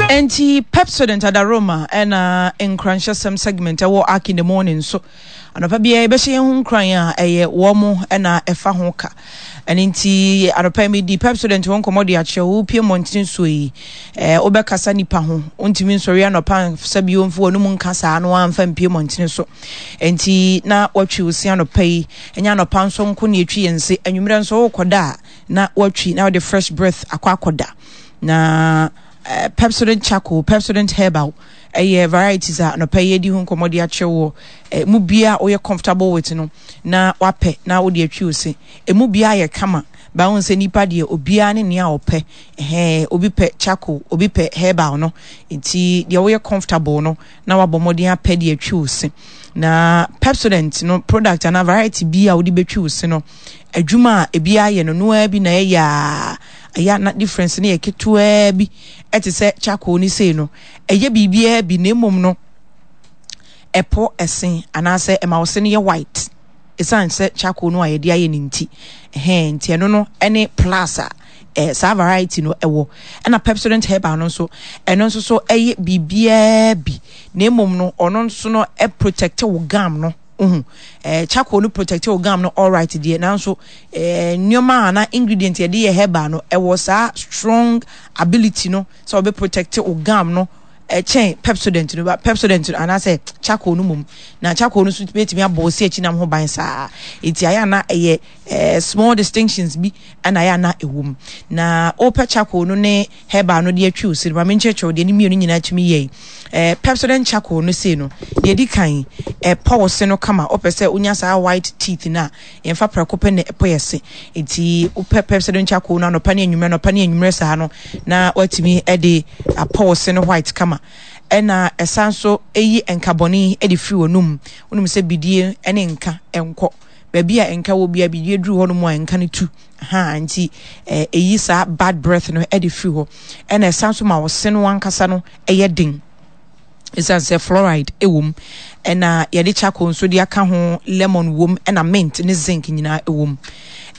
Enti Pepsodent Adaroma ɛna nkuranhyɛsɛm segment ɛwɔ Ark in the Morning so. Anɔpa biara yɛbɛhyɛ yɛn ho nkuran a ɛyɛ wɔn ɛna ɛfa ho ka. Ɛno nti anɔpa yi medi Pepsodent ho nkɔmmɔ de akyerɛ wo pie mmɔntene soɔ yi. Ɛɛ wobɛkasa nipa ho. Wontumi nsɔre anɔpa nsa bio mfa w'anum nka saa no amfa mpie mmɔntene so. Enti na watwi wo se anɔpa yi. Ɛnyɛ anɔpa nso nko na yɛtwi yɛn se. Anwummerɛ nso wokɔda a na watwi na wode fresh breath akɔ akɔda. Na eh, Pepsodent charcoal, Pepsodent herbal ɛyɛ varieties a anɔpa yi yɛdi ho nkɔmmɔ de akyerɛ wɔ eh, mu bia woyɛ comfortable with no na wapɛ na wode atwi wo se. Emu bia yɛ kama ba wohu sɛ nipa deɛ obiara ne nea ɔpɛ. Ɛhɛn, obi pɛ charcoal, obi pɛ herbal no. Nti deɛ woyɛ comfortable no na wabɔ mmɔden apɛ de atwi wo se. Na Pepsodent no product anaa variety bi a wode bɛtwi wo se no, adwuma a ebi ayɛ no noaa bi na ɛyɛ a ɛyɛ a na difference no yɛ ketewaa bi ɛte sɛ charcoal ne sei no ɛyɛ biribiara bi na mmom no ɛpɔ ɛse anaasɛ ɛma wo se no yɛ white ɛsiane sɛ charcoal no a yɛde ayɛ no nti ɛhɛn nti ɛno no ɛne plus a eh, saa variety no ɛwɔ ɛna Pepsodent herbal no nso ɛno nso so ɛyɛ biribiara bi na mmom no ɔno nso no ɛprotect wo gum no Wohu? Eh, charcoal no protect wo gum no alright deɛ, nanso eh, nneɛma a na ingredient yɛde yɛ herbal no, ɛwɔ saa strong ability no sɛ ɔbɛ protect wo gum no ɛkyɛn eh, Pepsodent no, Pepsodent no anaasɛ charcoal no mmom. Na charcoal no nso bɛtumi abɔ wo se akyi nam ho ban saa. Enti ayɛ ana ɛyɛ eh, small distinctions bi ɛna ayɛ ana ɛwɔ mu. Na wopɛ charcoal no ne herbal no de atwi wo se no, ma menkyerɛkyerɛ wo deɛ ne mmienu nyinaa tumi yɛ yi. Eh, Pepsodent charcoal no sei no, deɛ ɛdi kan, ɛpɔ wo se no kama. Wopɛ sɛ wonya saa white teeth no a, yɛmfa prɛko pɛ na ɛpɔ yɛ se. Nti wopɛ Pepsodent charcoal no anɔpa ne anwummerɛ, anɔpa ne anwummerɛ saa no, na woatumi de apɔ wo se no white kama. Ɛna ɛsan so ɛyi nkabɔne de firi w'anum. Wonim sɛ bidie ne nka nkɔ. Baabi a nka wɔ biara, bidie duru hɔ nom a, nka no tu. Ahaa, nti ɛyi saa bad breath no de firi hɔ. Ɛna ɛsan so ma wo se no ankasa no yɛ den. Ɛsiane sɛ fluoride wɔ mu, ɛna yɛde charcoal nso de aka ho, lemon wɔ mu, ɛna mint ne zinc nyinaa wɔ mu.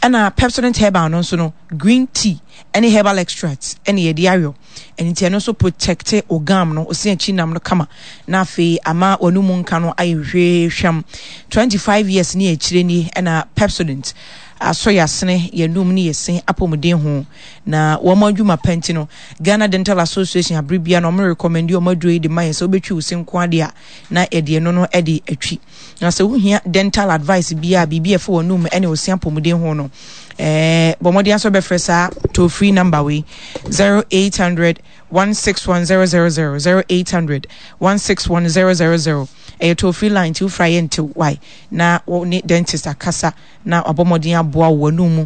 Ɛna Pepsodent herbal no nso no, green tea ɛne herbal extract ɛna yɛde ayɔ. Ɛno nti ɛno nso protect wo gum no, wo se akyi nam no kama, na afei ama w'anomu nka no ayɛ hwehwam. 25 years ne akyire ni ɛna Pepsodent asɔ yɛn asene, yɛn anum ne yɛn se apɔmuden ho. Na wɔn adwuma pa nti no, Ghana Dental Association abere biara no wɔn recommend wɔn aduro yi de ma yɛn sɛ wobɛtwi wo se nko adeɛ a na yɛde ɛno no de atwi. Na sɛ wohia dental advice biara, biribi a ɛfa w'anum ne wo se apɔmuden ho no, ɛɛ bɔ mmɔden asɔ bɛfrɛ saa toll free number wei 0800 161 000 0800 161 000 ɛyɛ toll free line nti wofra yɛ ntew wae na wo ne dentist akasa na wabɔ mmɔden aboa wo w'anum mu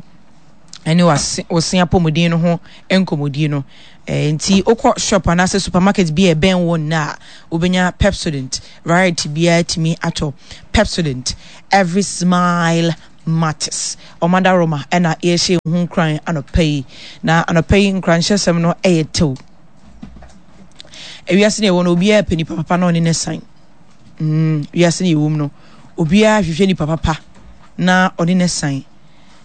ne wo se apɔmuden no ho nkɔmmɔdie no. Eh, nti wokɔ shop anaasɛ supermarket bi a ɛbɛn wo nnɛ a, wobɛnya Pepsodent variety biara tumi atɔ. Pepsodent, every smile matters. Ɔmada Roma ɛna yɛhyɛ ho nkuran anɔpa yi. Na anɔpa yi nkuranhyɛsɛm no ɛyɛ tew. Ewiase na ɛwɔ no obiara pɛ nipa papa na ɔne ne san. Mm, wiase na ɛwɔ mu no obiara hwehwɛ nipa papa na ɔne ne san.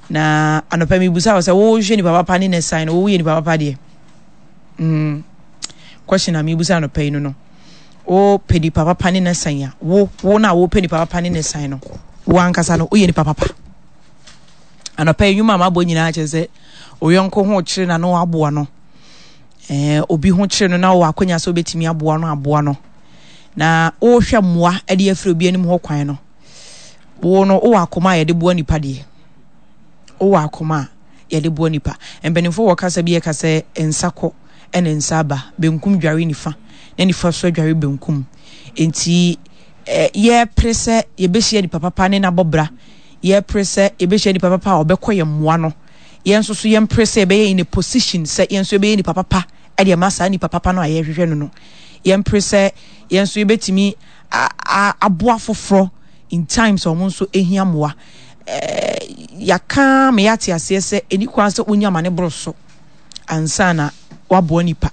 Na anɔpa mebisa wo sɛ wohwɛ nipa papa ne ne san no woyɛ nipa papa deɛ? Mm. Question a mebisa anɔpa yi no no. Wopɛ nipa papa ne ne san a wo wo na wopɛ nipa papa ne ne san no wo ankasa no woyɛ nipa papa. Anɔpa yi nnwuma a mabɔ nyinaa kyerɛ sɛ oyɔnko ho kyerɛ na no aboa no. Eh, obi ho kyerɛ no na wɔ akonya sɛ wobɛtumi aboa no aboa no. Na wohwɛ mmoa de afiri obi anim hɔ kwan no. Wo no, wowɔ akoma a yɛde boa nipa deɛ. Wowɔ akoma a yɛde boa nipa. Mpanimfoɔ wɔ kasa bi ɛka sɛ nsa kɔ ɛna nsa aba. Benkum dware nifa na nifa so adware benkum. Enti eh, yɛpere sɛ yɛbɛhyia nipa papa ne n'abɔ bra. Yɛpere sɛ yɛbɛhyia nipa papa a ɔbɛkɔ yɛn mmoa no. Yɛn nso so yɛmpere sɛ yɛbɛyɛ in a position sɛ yɛn nso yɛbɛyɛ nipa papa ɛde ama saa nipa papa no a yɛhwehwɛ no no. Yɛmpere sɛ yɛn nso yɛbɛtumi aboa foforɔ in times a wɔn nso hia mmoa. Yɛaka ma yɛate aseɛ sɛ ɛni kwan sɛ wonya ma ne boro so ansa na waboa nipa.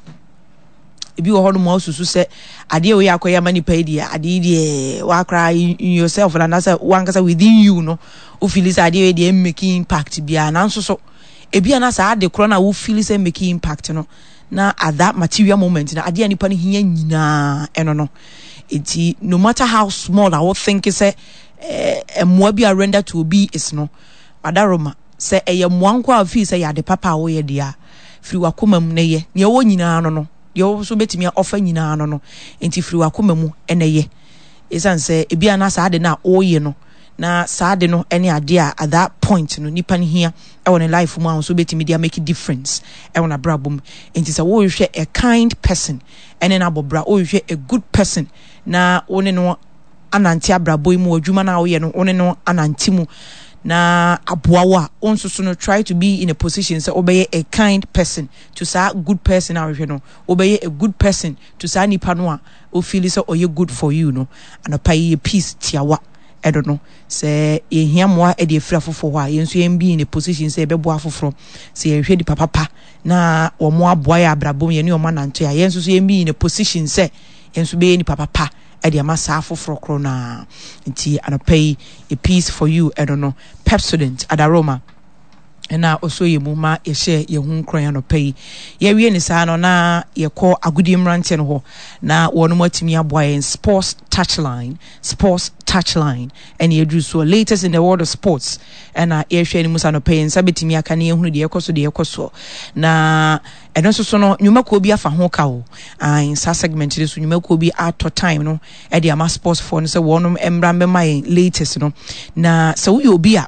Ebi wɔ hɔ nom a wosusu sɛ adeɛ wei akɔyɛ ama nipa yi deɛ adeɛ yi deɛ wakora in yourself na anaasɛ wankasa within you no wofili sɛ adeɛ wei deɛ mmeki impact biara nanso so ebi ana saa ade korɔ no a wofili sɛ mmeki impact no. Na at that material moment na adeɛ a nipa no hia nyinaa ɛno no. Nti no matter how small a wo think sɛ eh, mmoa bi a render to obi is no, adaroma sɛ ɛyɛ mmoa nko a feel sɛ yɛ ade papa a woyɛ deɛ a, firi wakoma mu na yɛ. Nea ɛwɔ nyinaa no no, deɛ wo nso bɛtumi ɔfa nyinaa no no, nti firi wakoma mu na yɛ. Ɛsiane sɛ ebi a na saa ade no a woyɛ no, na saa ade no ne adeɛ a at that point no nipa no hia wɔ ne life mu a nso bɛtumi de amake difference wɔ n'abrabɔ mu. Nti sɛ wohwehwɛ a kind person ɛne no abɔ bra, wohwehwɛ a good person na wo ne no anante abrabɔ yi mu, adwuma no a woyɛ no wo ne no anante mu na aboa wo a, wo nso so no try to be in a position sɛ wobɛyɛ a kind person to saa good person a wohwehwɛ no, wobɛyɛ a good person to saa nipa no a ofeeli sɛ ɔyɛ good for you no. Anɔpa yi yɛ peace tiawa ɛdo no, sɛ yɛhia mmoa de afiri afoforɔ hɔ a, yɛn nso yɛn be in a position sɛ yɛbɛboa afoforɔ. Sɛ yɛhwɛ nipa papa na wɔn aboa yɛ abrabɔ mu, yɛne wɔn anante a, yɛn nso so yɛn be in a position sɛ yɛn nso bɛyɛ nipa papa de ama saa afoforɔ korɔ no ara. Nti anɔpa yi yɛ peace for you ɛno no, Pepsodent Adaroma na ɔsɔ yɛn mu ma yɛhyɛ yɛn ho nkuran anɔpa yi. Yɛwie ne saa no na yɛkɔ agodie mmeranteɛ no hɔ na wɔn atumi aboa yɛn sports touchline, sports touchline ɛna yɛduru soɔ, latest in the world of sports ɛna yɛhwɛ anim sɛ anɔpa yi nsa bɛtumi aka ne yɛhunu deɛ ɛkɔ so deɛ ɛkɔ soɔ. Na ɛno nso so no nnwumakuo bi afa ho ka o. Ae, saa segment no so nnwumakuo bi atɔ time no ɛde ama sports foɔ no sɛ wɔnom mmra mmɛma yɛn latest no. Na sɛ woyɛ obi a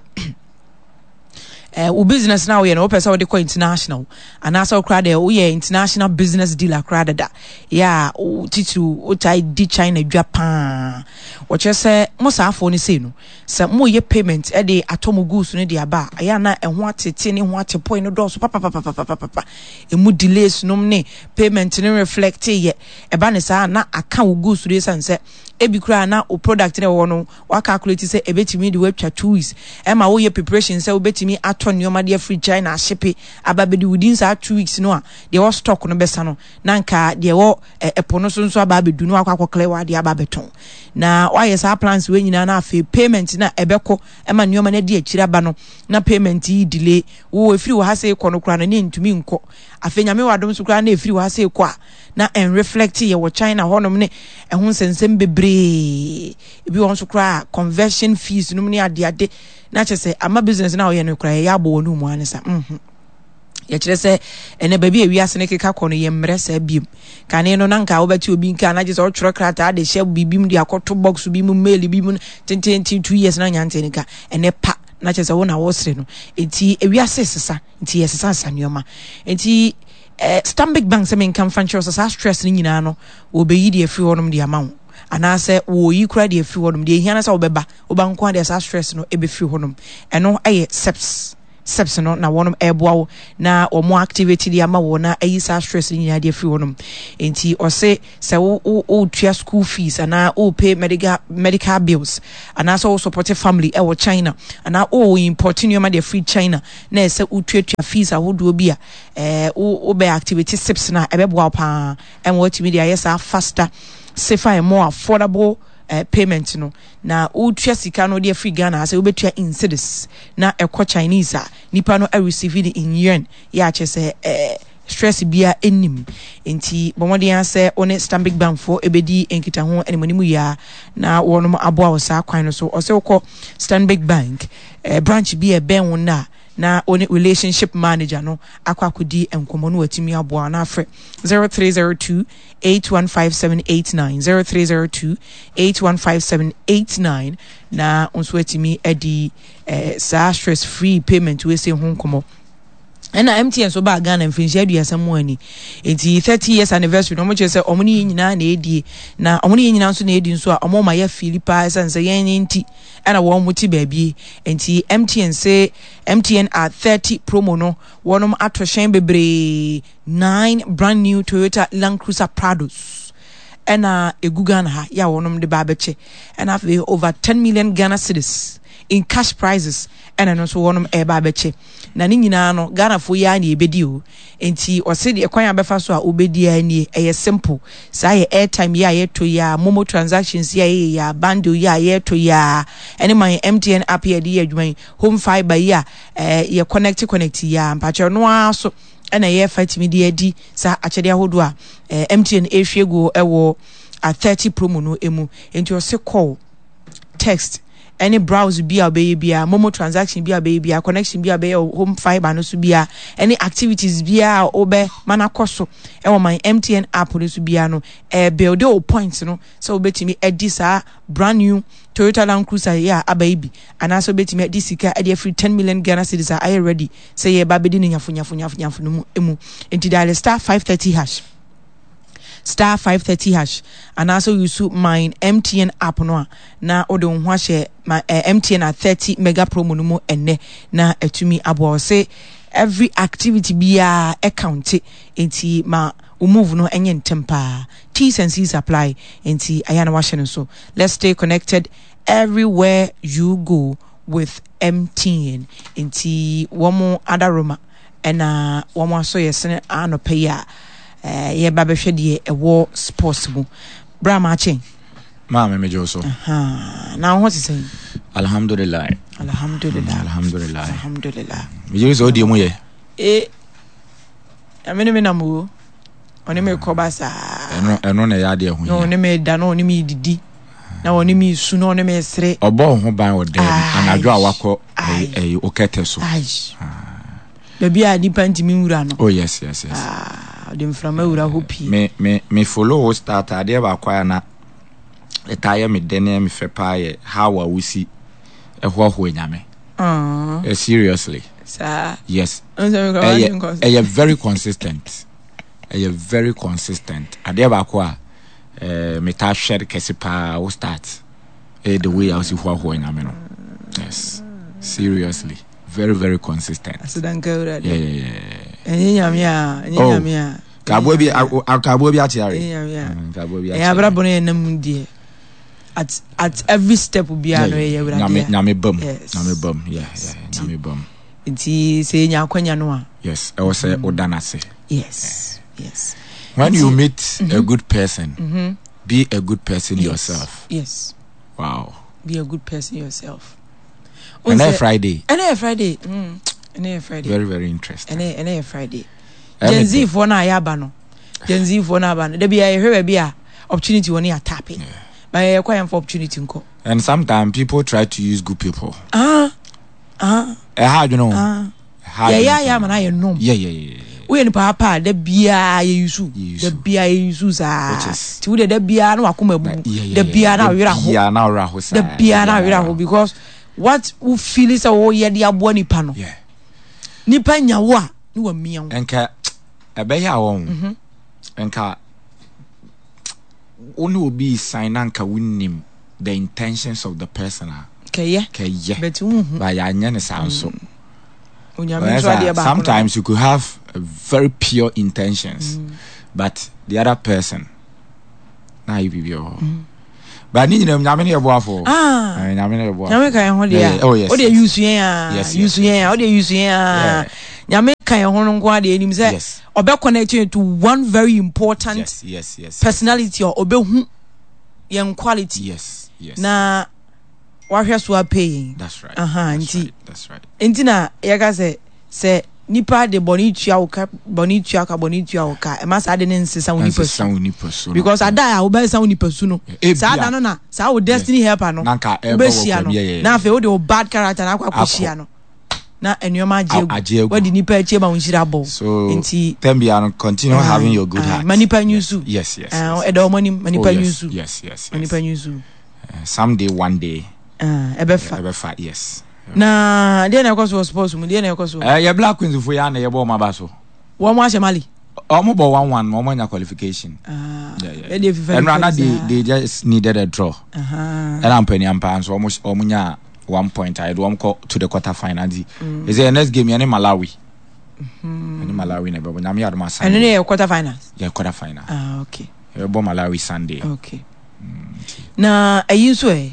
eh, wo business na woyɛ no wopɛ sɛ wode kɔ international anaasɛ wokora deɛ woyɛ international business dealer koraa dada yɛ a titiriw wotae di China dwa paa. Wɔkyerɛ sɛ mo saafoɔ no sei no, sɛ moyɛ payment de atɔ mo goods no de aba a, ɛyɛ a na ɛho atete ne ho atepɔe no dɔɔso papapapapapapa. Ɛmu delays nom ne payment no reflect yɛ. Ɛba ne saa na aka wo goods no ɛsiane sɛ ebi koraa na wo product no ɛwɔ no wa calculate sɛ ɛbɛtumi de woatwa 2 weeks, ɛma woyɛ preparation sɛ wobɛtumi atɔ nneɛma de afiri China ahyepe aba bɛdi within saa 2 weeks no a, deɛ ɛwɔ stock no bɛsa no na nka deɛ ɛwɔ ɛpo no so nso aba abɛdu na wakɔ akɔklɛ w'adeɛ aba abɛtɔn. Na wayɛ saa plans wei nyinaa na afei payment na ɛbɛkɔ ɛma nneɛma no adi akyire aba no na payment yi delay wo, ɛfiri wɔ ha sɛ kɔ no koraa no ne ntumi nkɔ. Afei Nyame wɔ adom so koraa na ɛfiri wɔ ha sɛ kɔ a na ɛnreflect yɛ wɔ China hɔnom ne ɛho nsɛnsɛm bebree. Ebi wɔ nso koraa conversion fees nom ne adeade na kyerɛ sɛ ama business na ɔyɛ no koraa yɛyɛ abɔ wɔn mu ansa. Yɛkyerɛ sɛ ɛnɛ baabi a wiase no keka kɔ no yɛ mmerɛ saa biem. Kane no na nka wobɛte obi nka na gye sɛ ɔtwerɛ krataa de hyɛ biribi mu de akɔto box bi mu, mail bi mu tententen 2 years na nyante no ka. Ɛnɛ pa na kyerɛ sɛ wo na wosere no. Nti ewiase sesa, nti yɛsesa sesa nneɛma. Nti Stanbic Bank sɛ menka mfa nkyerɛ sɛ saa stress no nyinaa no wɔbɛyi deɛ afiri hɔnom de ama wo, anaasɛ wɔyi koraa deɛ afiri hɔnom. Deɛ ehia no sɛ wobɛba, woba nko ara deɛ saa stress no ɛbɛfiri hɔnom. Ɛno ɛyɛ SEPS SEPS no na wɔnom ɛreboa wo na wɔn activate de ama wo na ayi saa stress no nyinaa de afiri hɔnom. Nti ɔse sɛ wo wo wotua school fees anaa wo pay medical bills anaasɛ wo support family ɛwɔ China anaa wo import nneɛma de afiri China na ɛsɛ wotuatua fees ahodoɔ bi a, wo wobɛ activate SIPS no a, ɛbɛboa wo paa ɛma watumi de ayɛ saa faster, safer and more affordable payment no. Na wotua sika no de afiri Ghana ha sɛ wobɛtua in cedis na ɛkɔ Chinese a, nipa no receive no in yuan, yɛ akyɛ sɛ stress bia nnim. Nti bɔ mmɔden ara sɛ wo ne Stanbic Bank foɔ ɛbɛdi nkitaho animanim yie a na wɔnom aboa wo saa kwan no so. Ɔsɛ wokɔ Stanbic Bank branch bi a ɛbɛn wo no a, na wo ne relationship manager no akɔ akɔdi nkɔmmɔ no watumi aboa wo, na afrɛ 0302 815789, 0302 815789 na wo nso atumi adi saa stress free payment wei sei ho nkɔmmɔ. Ɛna MTN nso baa Ghana mfirinhyia 30 mu ani, nti 30 years anniversary na wɔn kyerɛ sɛ wɔn ne yɛn nyinaa na ɛdie, na wɔn ne yɛn nyinaa nso na ɛdi nso a wɔn ma yɛ fiili paa ɛsiane sɛ yɛn nti ɛna wɔn te baabi. Nti MTN se MTN at 30 promo no, wɔn ato hyɛn bebree, nine brand new Toyota Land Cruiser Prados ɛna egu Ghana ha yɛ a wɔn de ba abɛkyɛ, ɛna afei over 10 million Ghana cedis in cash prizes ɛna ɛno nso wɔn ɛreba abɛkyɛ. Na ne nyinaa no Ghanafoɔ yi ara na yɛbɛdi o. Nti ɔse deɛ kwan a bɛfa so a wobɛdi ara nie, ɛyɛ simple. Saa yɛ airtime yi a yɛtɔ yi a, momo transactions yi a yɛyɛ yi a, bundle yi a yɛtɔ yi a, ɛne my MTN app yi a yɛde yɛ adwuma yi, home fibre yi a yɛ connect connect yi a, mpakyɛ ɔno ara so. ɛna yɛfa tumi de adi saa akyɛdeɛ ahodoɔ a eh, MTN ɛrehwie guo ɛwɔ a 30 promo no mu. Nti ɔse call, text, ɛne browse bi a wobɛyɛ biara, momo transaction bi a wobɛyɛ biara, connection bi a wobɛyɛ wɔ home fiber no so biara, ɛne activities biara a wobɛma no akɔ so ɛwɔ my MTN app no so biara no, ɛrebuilde wo points no sɛ wobɛtumi adi saa brand new Toyota Land Cruiser yi a aba yi bi, anaasɛ wobɛtumi adi sika de afiri 10 million Ghana cedis a ayɛ ready sɛ yɛreba abɛdi no nyafo nyafo nyafo nyafo no mu mu. Nti dial star 530 hash star 530 hash anaasɛ woyusu mine MTN app no a na wode wo ho ahyɛ ma eh, MTN a 30 mega promo no mu ɛnnɛ na atumi aboa wo se every activity biara ɛkaunte nti ma wo move no ɛnyɛ ntɛm paa. T's and C's apply nti ayɛ na wahyɛ no so. Let's stay connected everywhere you go with MTN. Nti wɔn adaroma ɛna wɔn asɔ yɛ sene anɔpa yi a eh, yɛba bɛhwɛ deɛ ɛwɔ sports mu. Bra maakye. Maame megye wo so. Na wo ho te sɛn? Alhamdulillah. Alhamdulillah. Alhamdulillah. Alhamdulillah. Megye sɛ wodie mu yɛ. Eh, ɛme ne me nam o. Ɔne me kɔba saa. Ɛno ɛno na ɛyɛ adeɛ ho hia. Na ɔne me da na ɔne me didi na ɔne me su na ɔne me sere. Ɔbɔ wo ho ban wɔ dɛm anadwo a wakɔ ɛyi okɛtɛ so. Baabi a nipa ntumi nwura no. Oh yes yes yes. Ɔde mframa wura hɔ pii. Me me me follow wo start adeɛ baako a na ɛtaa yɛ me dɛ ne me fɛ paa yɛ how a wosi ɛhoahoa nyame. Uh, seriously. Saa. Yes. Ɛyɛ ɛyɛ very consistent. Ɛyɛ very consistent. Adeɛ baako a ɛɛ metaa hwɛ kɛse paa wo start ɛyɛ the way a wosi hoahoa nyame no. Yes. Seriously. Very very consistent. Asidanka awurade. Yeah yeah yeah. Ɛnyɛ nyame a ɛnyɛ oh. nyame a. Kaboa bi kaboa bi ate are. Ɛnyɛ nyame a. Mm, kaboa bi ate. Ɛyɛ abrabɔ no yɛ nam deɛ. At at every step biara no yɛ awurade. Nyame nyame bam. Nyame bam. Yeah yeah nyame bam. Nti sɛ yɛnya akwanya no a. Yes, ɛwɔ sɛ woda no ase. Yes, yes. When you meet mm -hmm. a good person, mm -hmm. be a good person yes. yourself. Yes. Wow. Be a good person yourself. Ɛnɛ yɛ Friday. Ɛnɛ yɛ Friday. Mm. Ɛnɛ yɛ Friday. Very very interesting. Ɛnɛ ɛnɛ yɛ Friday. Gen Z foɔ no a yɛaba no. Gen Z foɔ no aba no. Dabi a yɛhwɛ baabi a opportunity wɔ no yɛ atape. Ba yɛyɛ kɔ yɛn for opportunity nkɔ. And sometimes people try to use good people. Ah. Ah. Ɛha adwene o. Ah. Yɛyɛ ayɛ ama no ayɛ nom. Woyɛ nipa pa a da biara yɛ yusu. Da biara yɛ yusu saa. Ti wo de da biara na wakoma abubu. Da biara na ɔwerɛ aho. Da biara na ɔwerɛ aho because what wo feel sɛ woyɛ de aboa nipa no. Nipa nya wo a ne wamia wo. Nka ɛbɛyɛ a wɔn. Mhm. Nka wo ne obi sign na nka wonim the intentions of the person a. Kɛyɛ. Kɛyɛ. But wohu. Ba yɛanyɛ ne saa nso. Mm. Onyame nso adeɛ baako. Sometimes you could have very pure intentions, mm. but the other person na ayi biribi wɔ hɔ. Mm. But ne nyinaa nyame ne yɛ boafo. Ah. Eh, nyame ne yɛ boafo. Nyame ka yɛn ho deɛ. Oh yes. O de yusu yɛn a. Yusu yɛn a. O de yusu yɛn a. Nyame ka yɛn ho no nko adeɛ enim sɛ ɔbɛ connect you to one very important yes, yes, yes, personality a ɔbɛhu yɛn quality. Yes, yes. Na wahwɛ so apɛ yɛn. That's right. Aha, That's nti. Right. That's right. Nti na yɛka sɛ sɛ nipa de bɔne tua wo ka bɔne tua ka bɔne tua wo ka ɛma saa de ne nsesa wo nipa su wo nipa su because ada a wobɛsesa wo nipa su no saa da no na saa wo destiny helper no wobɛhyia no na afei wode wo bad character na akɔ akɔhyia no na nneɛma agye agu wadi nipa akyi ma wo nhyira abɔ so nti tɛm bia no continue having your good heart ma nipa nyusu yes yes ɛda wɔn anim ma nipa oh, nyusu yes yes ma nipa nyusu someday one day ɛbɛfa ɛbɛfa yes na deɛ na ɛkɔ so wɔ sports mu deɛ na ɛkɔ so. Ɛɛ yɛ Black Queens fo yɛ ana yɛ bɔ wɔn aba so. Wɔn ahyɛ Mali. Wɔn bɔ 1-1 wɔn anya qualification. Ah, yeah, yeah. Ɛnu ana they they just needed a draw. Ɛna mpanyinpa nso wɔn wɔn nya one point a yɛde wɔn kɔ to the quarter final nti. Mm. Ɛsɛ next game yɛ ne Malawi. Mm-hmm. Ɛne Malawi na ɛbɛbɔ nyame adum asan. Ɛno ne yɛ quarter final. Yɛ quarter final. Ah okay. Yɛbɛbɔ Malawi Sunday. Okay. Mm, na ɛyi nso ɛ.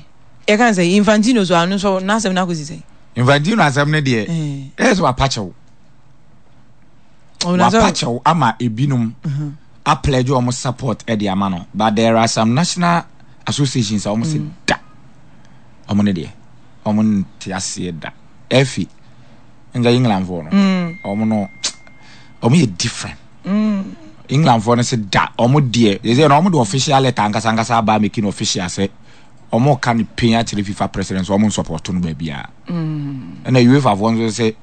Yɛka ne sɛ Infantino so ano nso n'asɛm no akɔsi sɛn? Infantino asɛm no deɛ ɛyɛ sɛ wapa kyɛw. Wapa kyɛw ama ebinom mhm. apledge wɔn support de ama no but there are some national associations a wɔn sɛ mm. da wɔn ne deɛ wɔn nte aseɛ da ɛfi nka England foɔ no mm. wɔn no. Ɔmo yɛ different. England foɔ no sɛ da ɔmo deɛ yɛ sɛ na ɔmo de official letter ankasa ankasa aba making official sɛ ɔmo ka ne pain akyerɛ FIFA president sɛ ɔmo nsupporto no baabiara. Ɛna UEFA foɔ nso sɛ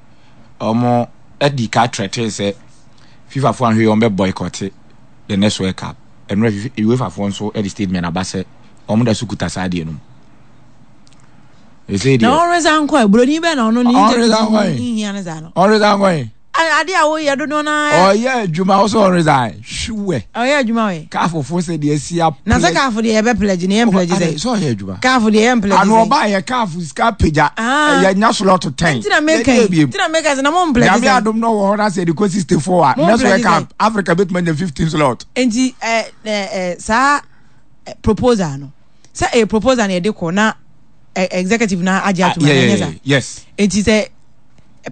ɔmo ɛdi ka threaten sɛ FIFA foɔ ahwɛ ɔmo bɛ boycott the next World Cup. Ɛnura UEFA foɔ nso ɛde statement aba sɛ ɔmo da so kuta saa adeɛ no mu. Na ɔnresa nkɔ ɛ buroni bɛn na ɔno ne interview nhia ne saa no. Ɔnresa nkɔ ɛ. Ade a woyɛ dodoɔ no ara. Ɔyɛ adwuma wo sɛ ɔnresign hwiwɛ. Ɔyɛ adwuma ɔyɛ. Kaafo fo sɛ deɛ asi a. Na sɛ kaafo deɛ yɛbɛ pledge ne yɛn pledge sɛ. Sɛ ɔyɛ adwuma. Kaafo deɛ yɛn pledge sɛ. Ano ɔba yɛ kaafo sika pagya. Yɛ nya slot 10. Ntina meka yi ntina meka sɛ na mo pledge sɛ. Nyame adom na ɔwɔ hɔ na sɛ ɛde kɔ 64 a. Next World Cup Africa bɛtumi anya 15 slot. Nti ɛ ɛ saa proposal no sɛ ɛyɛ proposal na yɛde kɔ na executive na agye atum anaa nyɛ saa. Yes. Nti sɛ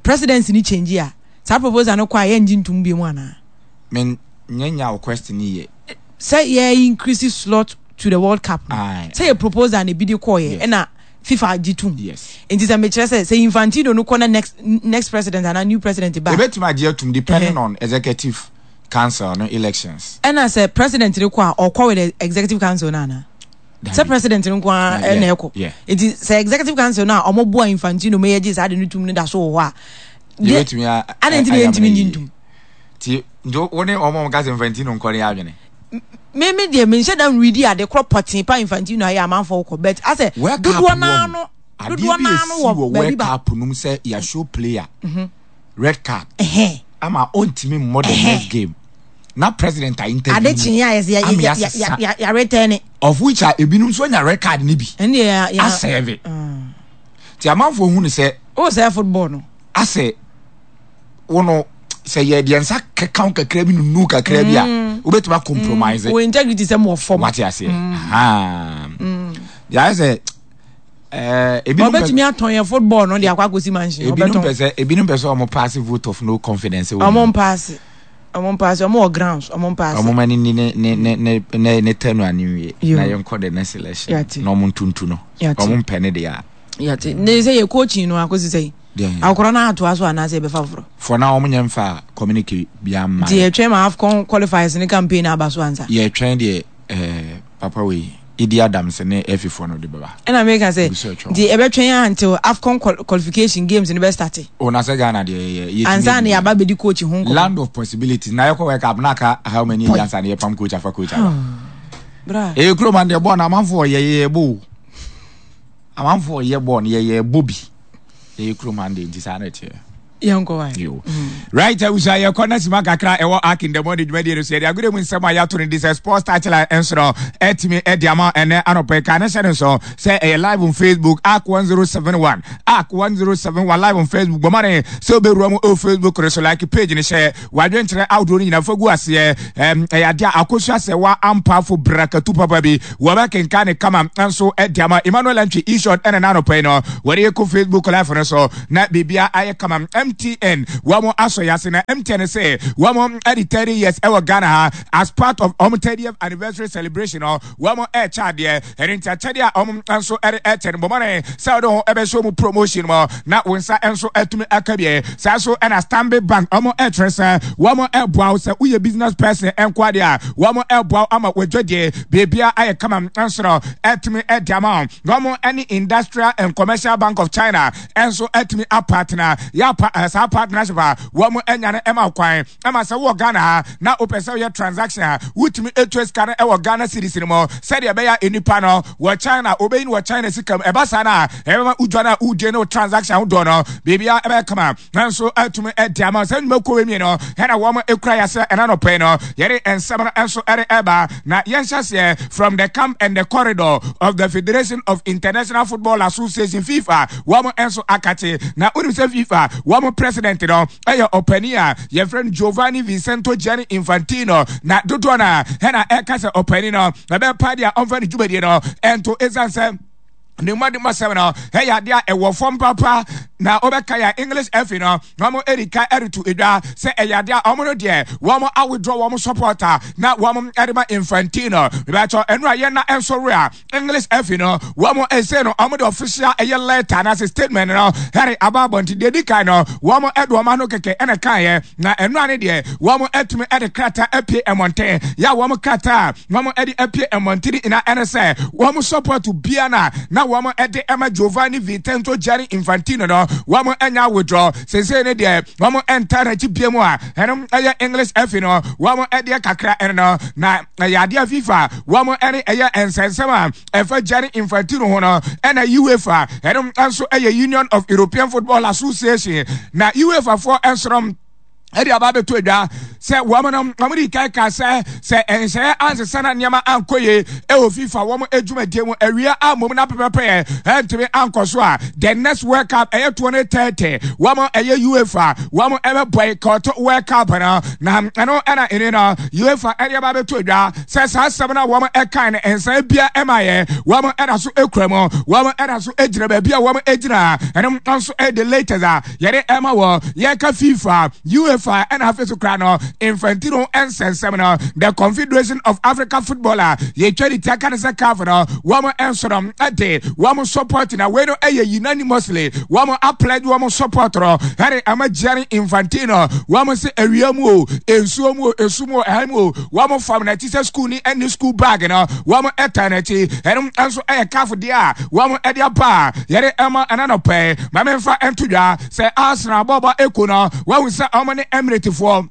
presidency ni change a saa proposal no kɔ a yɛngye ntum bi mu anaa. Men nyɛ nya wo question ni yɛ. Sɛ yɛ increase slot to the World Cup no. Sɛ yɛ proposal na ebi de kɔɔ yɛ ɛna FIFA gye tum. Yes. Nti sɛ mekyerɛ sɛ sɛ Infantino no kɔ na next next president anaa new president ba. Ebetumi agye atum depending on executive council no elections. Ɛna sɛ president no kɔ a ɔkɔ with the executive council no anaa. Sɛ president no nko ara na ɛkɔ. Nti sɛ executive council no a ɔmo boa Infantino ma yɛgye saa de no tum no da so wɔ hɔ a. Yɛbɛtumi a. Adɛn nti na yɛntumi ngye ntum? Ti nti wo ne ɔmo a ɔmo ka sɛ Infantino nkɔ no yɛ adwene? Me me deɛ menhyɛ da nredi ade korɔ pɔtee pa Infantino ayɛ amanfoɔ kɔ but asɛ dodoɔ naa no dodoɔ naa no wɔ baabi ba. Adeɛ bi esi wɔ World Cup no mu sɛ yɛahyɛ player red card ama ɔntumi mmɔ the next game na president a interview ade kyen a yɛsɛ yɛretɛne of which a ebinom nso anya red card no bi asɛve nti amanfoɔ hu no sɛ o sɛ football no asɛ wo no sɛ yɛ deɛ nsa keka wo kakra bi nunu kakra bi a wobɛtumi acompromise wo integrity sɛ mowɔ fam wate aseɛ deɛ ayɛ sɛ Eh, ebinom ɔbɛtumi atɔn yɛ football no de akɔ akɔsi mansion. Ebinom pɛ sɛ ebinom pɛ sɛ ɔmo paase vote of no confidence. Ɔmo mpaase ɔmo mpaase ɔmo wɔ grounds ɔmo mpaase. Ɔmo ma ne ni ne ne ne ne ne ne tɛnu ani wie na yɛn kɔ the next election na ɔmo ntuntu no ɔmo mpɛ ne deɛ. Yate ne sɛ yɛ coaching no akɔsi sɛ akɔrɔ no atoa so anaasɛ yɛbɛfa foforɔ. For now ɔmo nyɛ nfa communicate bi ama. Nti yɛtwɛn ma AFCON qualifiers ne campaign aba so ansa. Yɛtwɛn deɛ. Eh, papa wei, Idi Adams ne Efifoɔ no de bɛba. Ɛna meka sɛ, nti ɛbɛtwɛn a until AFCON qualification games no bɛ starte. O na sɛ Ghana deɛ yɛ yɛ. Ansa na yɛaba bɛdi coach ho nkɔmmɔ. Land of possibilities. Na yɛkɔ World Cup na aka how many years ansa na yɛpam coach afa coach aba. Bra. Ɛyɛ kurom an deɛ bɔɔl no amanfoɔ yɛ yɛ bɔ o. Amanfoɔ yɛ bɔɔl no yɛ yɛ bɔ bi. Ɛyɛ kurom an deɛ nti saa na ɛteɛ. Yɛnkɔ wae. Yo. Right, abusua yɛkɔ na sima kakra ɛwɔ Ark in the Morning dwumadie no so yɛde agorɔ mu nsɛm a yɛato no di sɛ sports touchline nso no ɛtumi ɛde ama ɛnɛ anɔpɛ ka ne hyɛ no nso sɛ ɛyɛ live on Facebook Ark 1071 Ark 1071 live on Facebook bɔ mmɔden sɛ wobɛwura mu ɛwɔ Facebook no so like page no hyɛ wadwenkyerɛ ahodoɔ no nyinaa fa gu aseɛ ɛyɛ adeɛ a akosua sɛ wa ampafo brakatu papa bi Wɔbɛkenkan ne kama nso de ama Emmanuel Antwi Ishod ɛna n'anɔpa yi no wɔde kɔ Facebook live no so na biribia ayɛ kama. MTN wɔn asɔ yase na MTN sɛ wɔn de 30 years ɛwɔ Ghana ha as part of wɔn 30th anniversary celebration no wɔn ɛrekyɛ adeɛ ɛne nti akyɛdeɛ a wɔn nso ɛde ɛkyɛ no bɔmɔne sɛ wɔde ho ɛbɛhyɛ wɔn promotion mu na wɔn nsa nso ɛtumi aka bie saa so ɛna Stanbic Bank wɔn ɛkyerɛ sɛ wɔn ɛboa wo sɛ woyɛ business person ɛnko adeɛ a wɔn ɛboa wo ama wɔadwadie Biribiara ayɛ kama nso no atumi de ama wɔn. Wɔn ne Industrial and Commercial Bank of China nso atumi apatena. Yɛapa eh, saa partnership a wɔn anya no ɛma kwan ɛma sɛ wowɔ Ghana ha na wopɛ sɛ woyɛ transaction a wotumi etua sika no ɛwɔ Ghana cedis no mu sɛdeɛ ɛbɛyɛ a nnipa no wɔ China wobɛyi no wɔ China sika mu. Ɛba saa no a ɛbɛma wodwa no a wodie ne wo transaction ahodoɔ no biribiara ɛbɛyɛ kama. Nanso atumi adi ama sɛ nnwumakuo wei mmienu ɛna wɔn ekura yɛsɛ ɛna nɔpɛ yi no yɛde nsɛm no nso ɛde ɛba na yɛnhyɛ aseɛ from the camp and the corridor of the Federation of International Football Association FIFA wɔn nso akate na wonim sɛ FIFA wɔn president no ɛyɛ ɔpanin a yɛfrɛ no Giovanni Vincento Gianni Infantino na dodoɔ no a ɛna ɛka sɛ ɔpanin no ɛbɛpa deɛ ɔmfa ne dwumadie no ɛnto ɛsiane sɛ. Ne mmɔdemmɔsɛm no yɛ adeɛ a ɛwɔ fam papa na wobɛka yɛ English FA no wɔn adi ka reto edwa sɛ ɛyɛ adeɛ a wɔn no deɛ wɔn awithdraw wɔn support a na wɔn de ma Infantino. Bɛtɔ ɛno a yɛn na nso re a English FA no wɔn ɛsɛ no wɔn de official ɛyɛ letter anaasɛ statement no ɛre aba abɔnten. Deɛ di kan no wɔn ɛde wɔn ano kɛkɛ ɛna kaeɛ na ɛno ano deɛ wɔn atumi ɛde krataa apue mmɔnten yɛ a wɔn krataa wɔn de apue mmɔntene nyinaa ɛne sɛ wɔn support bia na na wɔn de ɛma Giovanni Vincenzo Gianni Infantino no wɔn anya withdraw sese ne deɛ wɔn nta n'akyi bia mu a ɛno ɛyɛ English FA no wɔn ɛdeɛ kakra ɛno no na ɛyɛ adeɛ FIFA wɔn ɛne ɛyɛ nsɛnsɛm a ɛfa Gianni Infantino ho no ɛna UEFA ɛno nso ɛyɛ Union of European Football Association na UEFA foɔ nso no ɛde aba abɛto adwa sɛ wɔn no wɔn de kan ka sɛ sɛ nhyɛeɛ ansesa na nneɛma ankɔ yie ɛwɔ FIFA wɔn adwumadie mu awia ammom na pɛpɛpɛ ɛntumi ankɔ so a the next World Cup ɛyɛ 2030 wɔn ɛyɛ UEFA wɔn ɛbɛ boycott World Cup no na ɛno ɛna ɛne no UEFA ɛde aba abɛto adwa sɛ saa asɛm no a wɔn ɛkan no nsan bia ɛma yɛ wɔn ɛda so ekura mu wɔn ɛda so egyina baabi a wɔn egyina ɛno nso ɛyɛ the latest a yɛde ɛma wɔ yɛka FIFA, UEFA ɛna afei so kora no Infantino nsɛnsɛm no the Confederation of Africa Football a yɛtwa ne tia ka ne sɛ CAF no wɔn nso no ɛde wɔn support na wei no ɛyɛ unanimously wɔn apledge wɔn support no ɛde ama Gianni Infantino wɔn se awia mu o nsuo mu o esu mu o ɛha mu o wɔn fam n'akyi sɛ school ni ɛne school bag no wɔn ɛta n'akyi ɛno nso ɛyɛ CAF deɛ a wɔn ɛde aba a yɛde ɛma ɛna nɔpɛ Ma memfa nto dwa sɛ Arsenal bɔɔlbɔ ekuo no, wɔahu sɛ wɔn ne Emiratefoɔ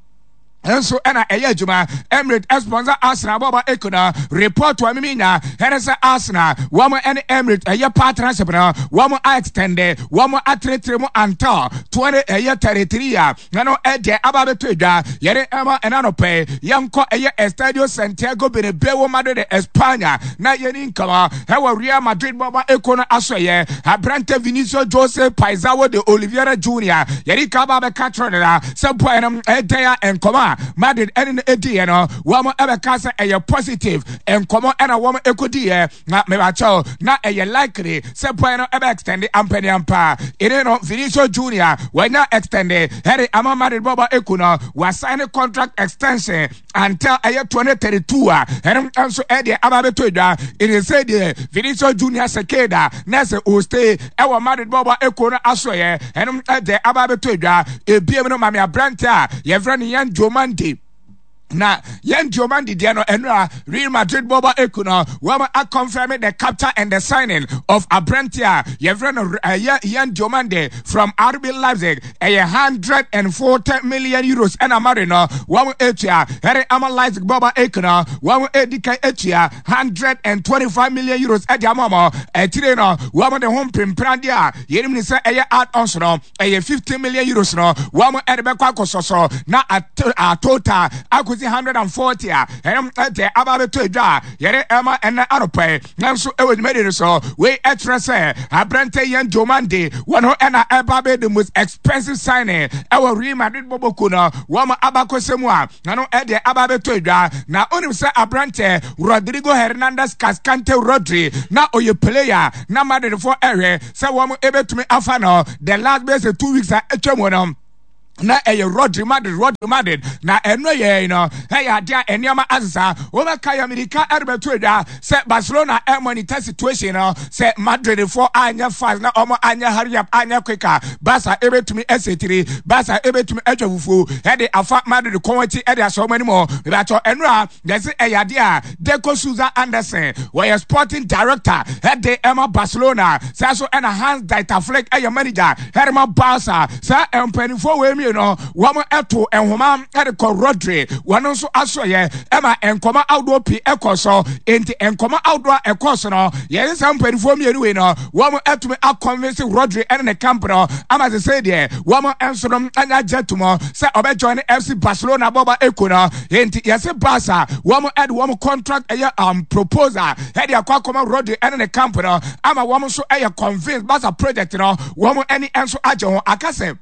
nso ɛna ɛyɛ adwuma. Emirates sponsor Arsenal bɔɔlbɔ ekuo no. Report a mimi nya ɛne sɛ Arsenal wɔn ɛne Emirates ɛyɛ partnership no wɔn a extend wɔn atenetene mu until 20 ɛyɛ 33 a na no ɛdeɛ aba abɛtɔ adwa yɛde ɛma ɛna nɔpɛ yɛnkɔ ɛyɛ Estadio Santiago Bernabeu Madrid Espanya na yɛni nkama ɛwɔ Real Madrid bɔbɔ eko no aso ɛyɛ aberante Vinicius Jose Paizao de Oliveira Junior yɛde ka aba abɛka kyerɛ no na sɛ boy no ɛdɛn a nkɔmɔ a Madrid ɛne no ɛdiiɛ no wɔn ɛbɛka sɛ ɛyɛ positive nkɔmɔ ɛna wɔn ɛkɔdiiɛ na mebakyɛw na ɛyɛ likely sɛ boy no ɛbɛ extend ampaniampa ɛne no Vinicius Junior wanya extend ɛde ama Madrid bɔbɔ eku no wasign contract extension until ɛyɛ 2032 a ɛno nso ɛdeɛ aba abɛtɔ adwa ɛne sɛ deɛ Vinicius Junior Sekeda na sɛ ɔstay ɛwɔ Madrid bɔbɔ eku no asoɛyɛ ɛno ɛdeɛ aba abɛtɔ adwa ebiem no mame aberante a yɛfrɛ no Yan Diomande na yɛn Diomande deɛ no ɛnura Real Madrid bɔbɔ eku no wɔn akɔnfɛm the capture and the signing of aberante a yɛfrɛ no ɛyɛ Yan Diomande from RB Leipzig ɛyɛ €140 million ɛna Madrid no wɔn etua ɛde ama Leipzig bɔbɔ eku no wɔn edi kan etua €125 million ɛde ama wɔn ɛtire no wɔn de ho mpemprandeɛ a yɛnim ne sɛ ɛyɛ add-ons no ɛyɛ €15 million no wɔn ɛde bɛkɔ akɔsɔsɔ na a total akɔsi 140 a ɛnom ɛde aba abɛtɔ adwa a yɛde ɛma ɛnɛ anɔpɛ nanso ɛwɔ dwumadi no so wei ɛkyerɛ sɛ aberante Yan Diomande wɔn ho ɛna ɛba bɛ the most expensive signing ɛwɔ Real Madrid bɔbɔku no wɔn abakɔsɛ mu a ɛno ɛde aba abɛtɔ adwa na onim sɛ aberante Rodrigo Hernandez Cascante Rodri na ɔyɛ player na Madridfoɔ ɛhwɛ sɛ wɔn ɛbɛtumi afa no the last bɛsɛ 2 weeks a atwa mu no na ɛyɛ Rodri Madrid Rodri Madrid na ɛno yɛ no ɛyɛ adeɛ a nneɛma asesa wɔbɛka yɛ mirika ɛrebɛto adwa sɛ Barcelona ɛmonitor situation no sɛ Madridfoɔ anyɛ fast na wɔn anyɛ hurry up anyɛ quick a Barca ɛbɛtumi ɛsɛtiri Barca ɛbɛtumi atwa fufuo ɛde afa Madrid kɔn akyi ɛde ahyɛ wɔn anim ɛbɛatɔ ɛno a yɛsɛ ɛyɛ adeɛ a Deco Souza Anderson wɔyɛ sporting director ɛde ɛma Barcelona saa so ɛna Hans Dieter Flick ɛyɛ manager ɛde ma Barca saa mpanimfoɔ wɔ emie no wɔn ɛto nhoma ɛde kɔ Rodri wɔn nso asoɛyɛ ɛma nkɔmɔ ahodoɔ pii ɛkɔ so nti nkɔmɔ ahodoɔ a ɛkɔ so no yɛn saa mpanimfoɔ mmienu wei no wɔn ɛtumi akɔnvinsi Rodri ɛne ne camp no ama sɛ sɛ deɛ wɔn nso no anya agye atum sɛ ɔbɛ join FC Barcelona bɔba eko no nti yɛsɛ Barca wɔn ɛde wɔn contract ɛyɛ proposal ɛde akɔ akɔma Rodri ɛne ne camp no ama wɔn nso ɛyɛ convince Barca project no wɔn ɛne nso agye ho akasɛ.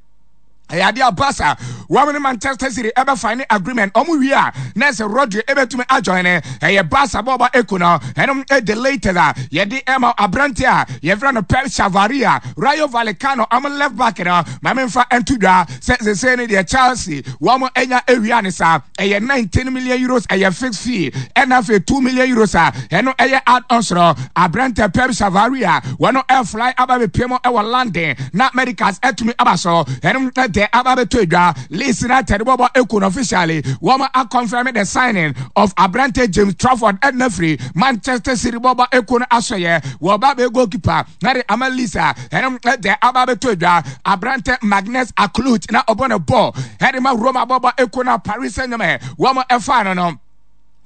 Ɛyɛ adeɛ a Barca wɔn ne Manchester City ɛbɛfa ne agreement wɔn wie a na ɛsɛ Rodri ɛbɛtumi ajoin ne ɛyɛ Barca bɔɔbɔ eko no ɛnom ɛde latest a yɛde ɛma aberante a yɛfrɛ no Pep Chavarria Rayo Vallecano wɔn left back no ma memfa ɛnto dwa sɛ sesei ne deɛ Chelsea wɔn anya awia ne saa ɛyɛ 19 million euros ɛyɛ fixed fee ɛna afei 2 million euros a ɛno ɛyɛ add-ons no aberante Pep Chavarria wɔn ɛfly aba bɛpie mu ɛwɔ London na medicals atumi aba so ɛno ɛdɛ aba bɛtɔ adwa Leeds United bɔbɔ eku no officially wɔn akɔnfɛm the signing of aberante James Trafford ɛna firi Manchester City bɔbɔ eku no asɔyɛ wɔba bɛ goalkeeper na de ama Leeds a ɛno ɛdɛ aba bɛtɔ adwa aberante Magnus Aklut na ɔbɔ ne bɔɔl ɛde ma Roma bɔbɔ eku no Paris Saint-Germain wɔn ɛfa no no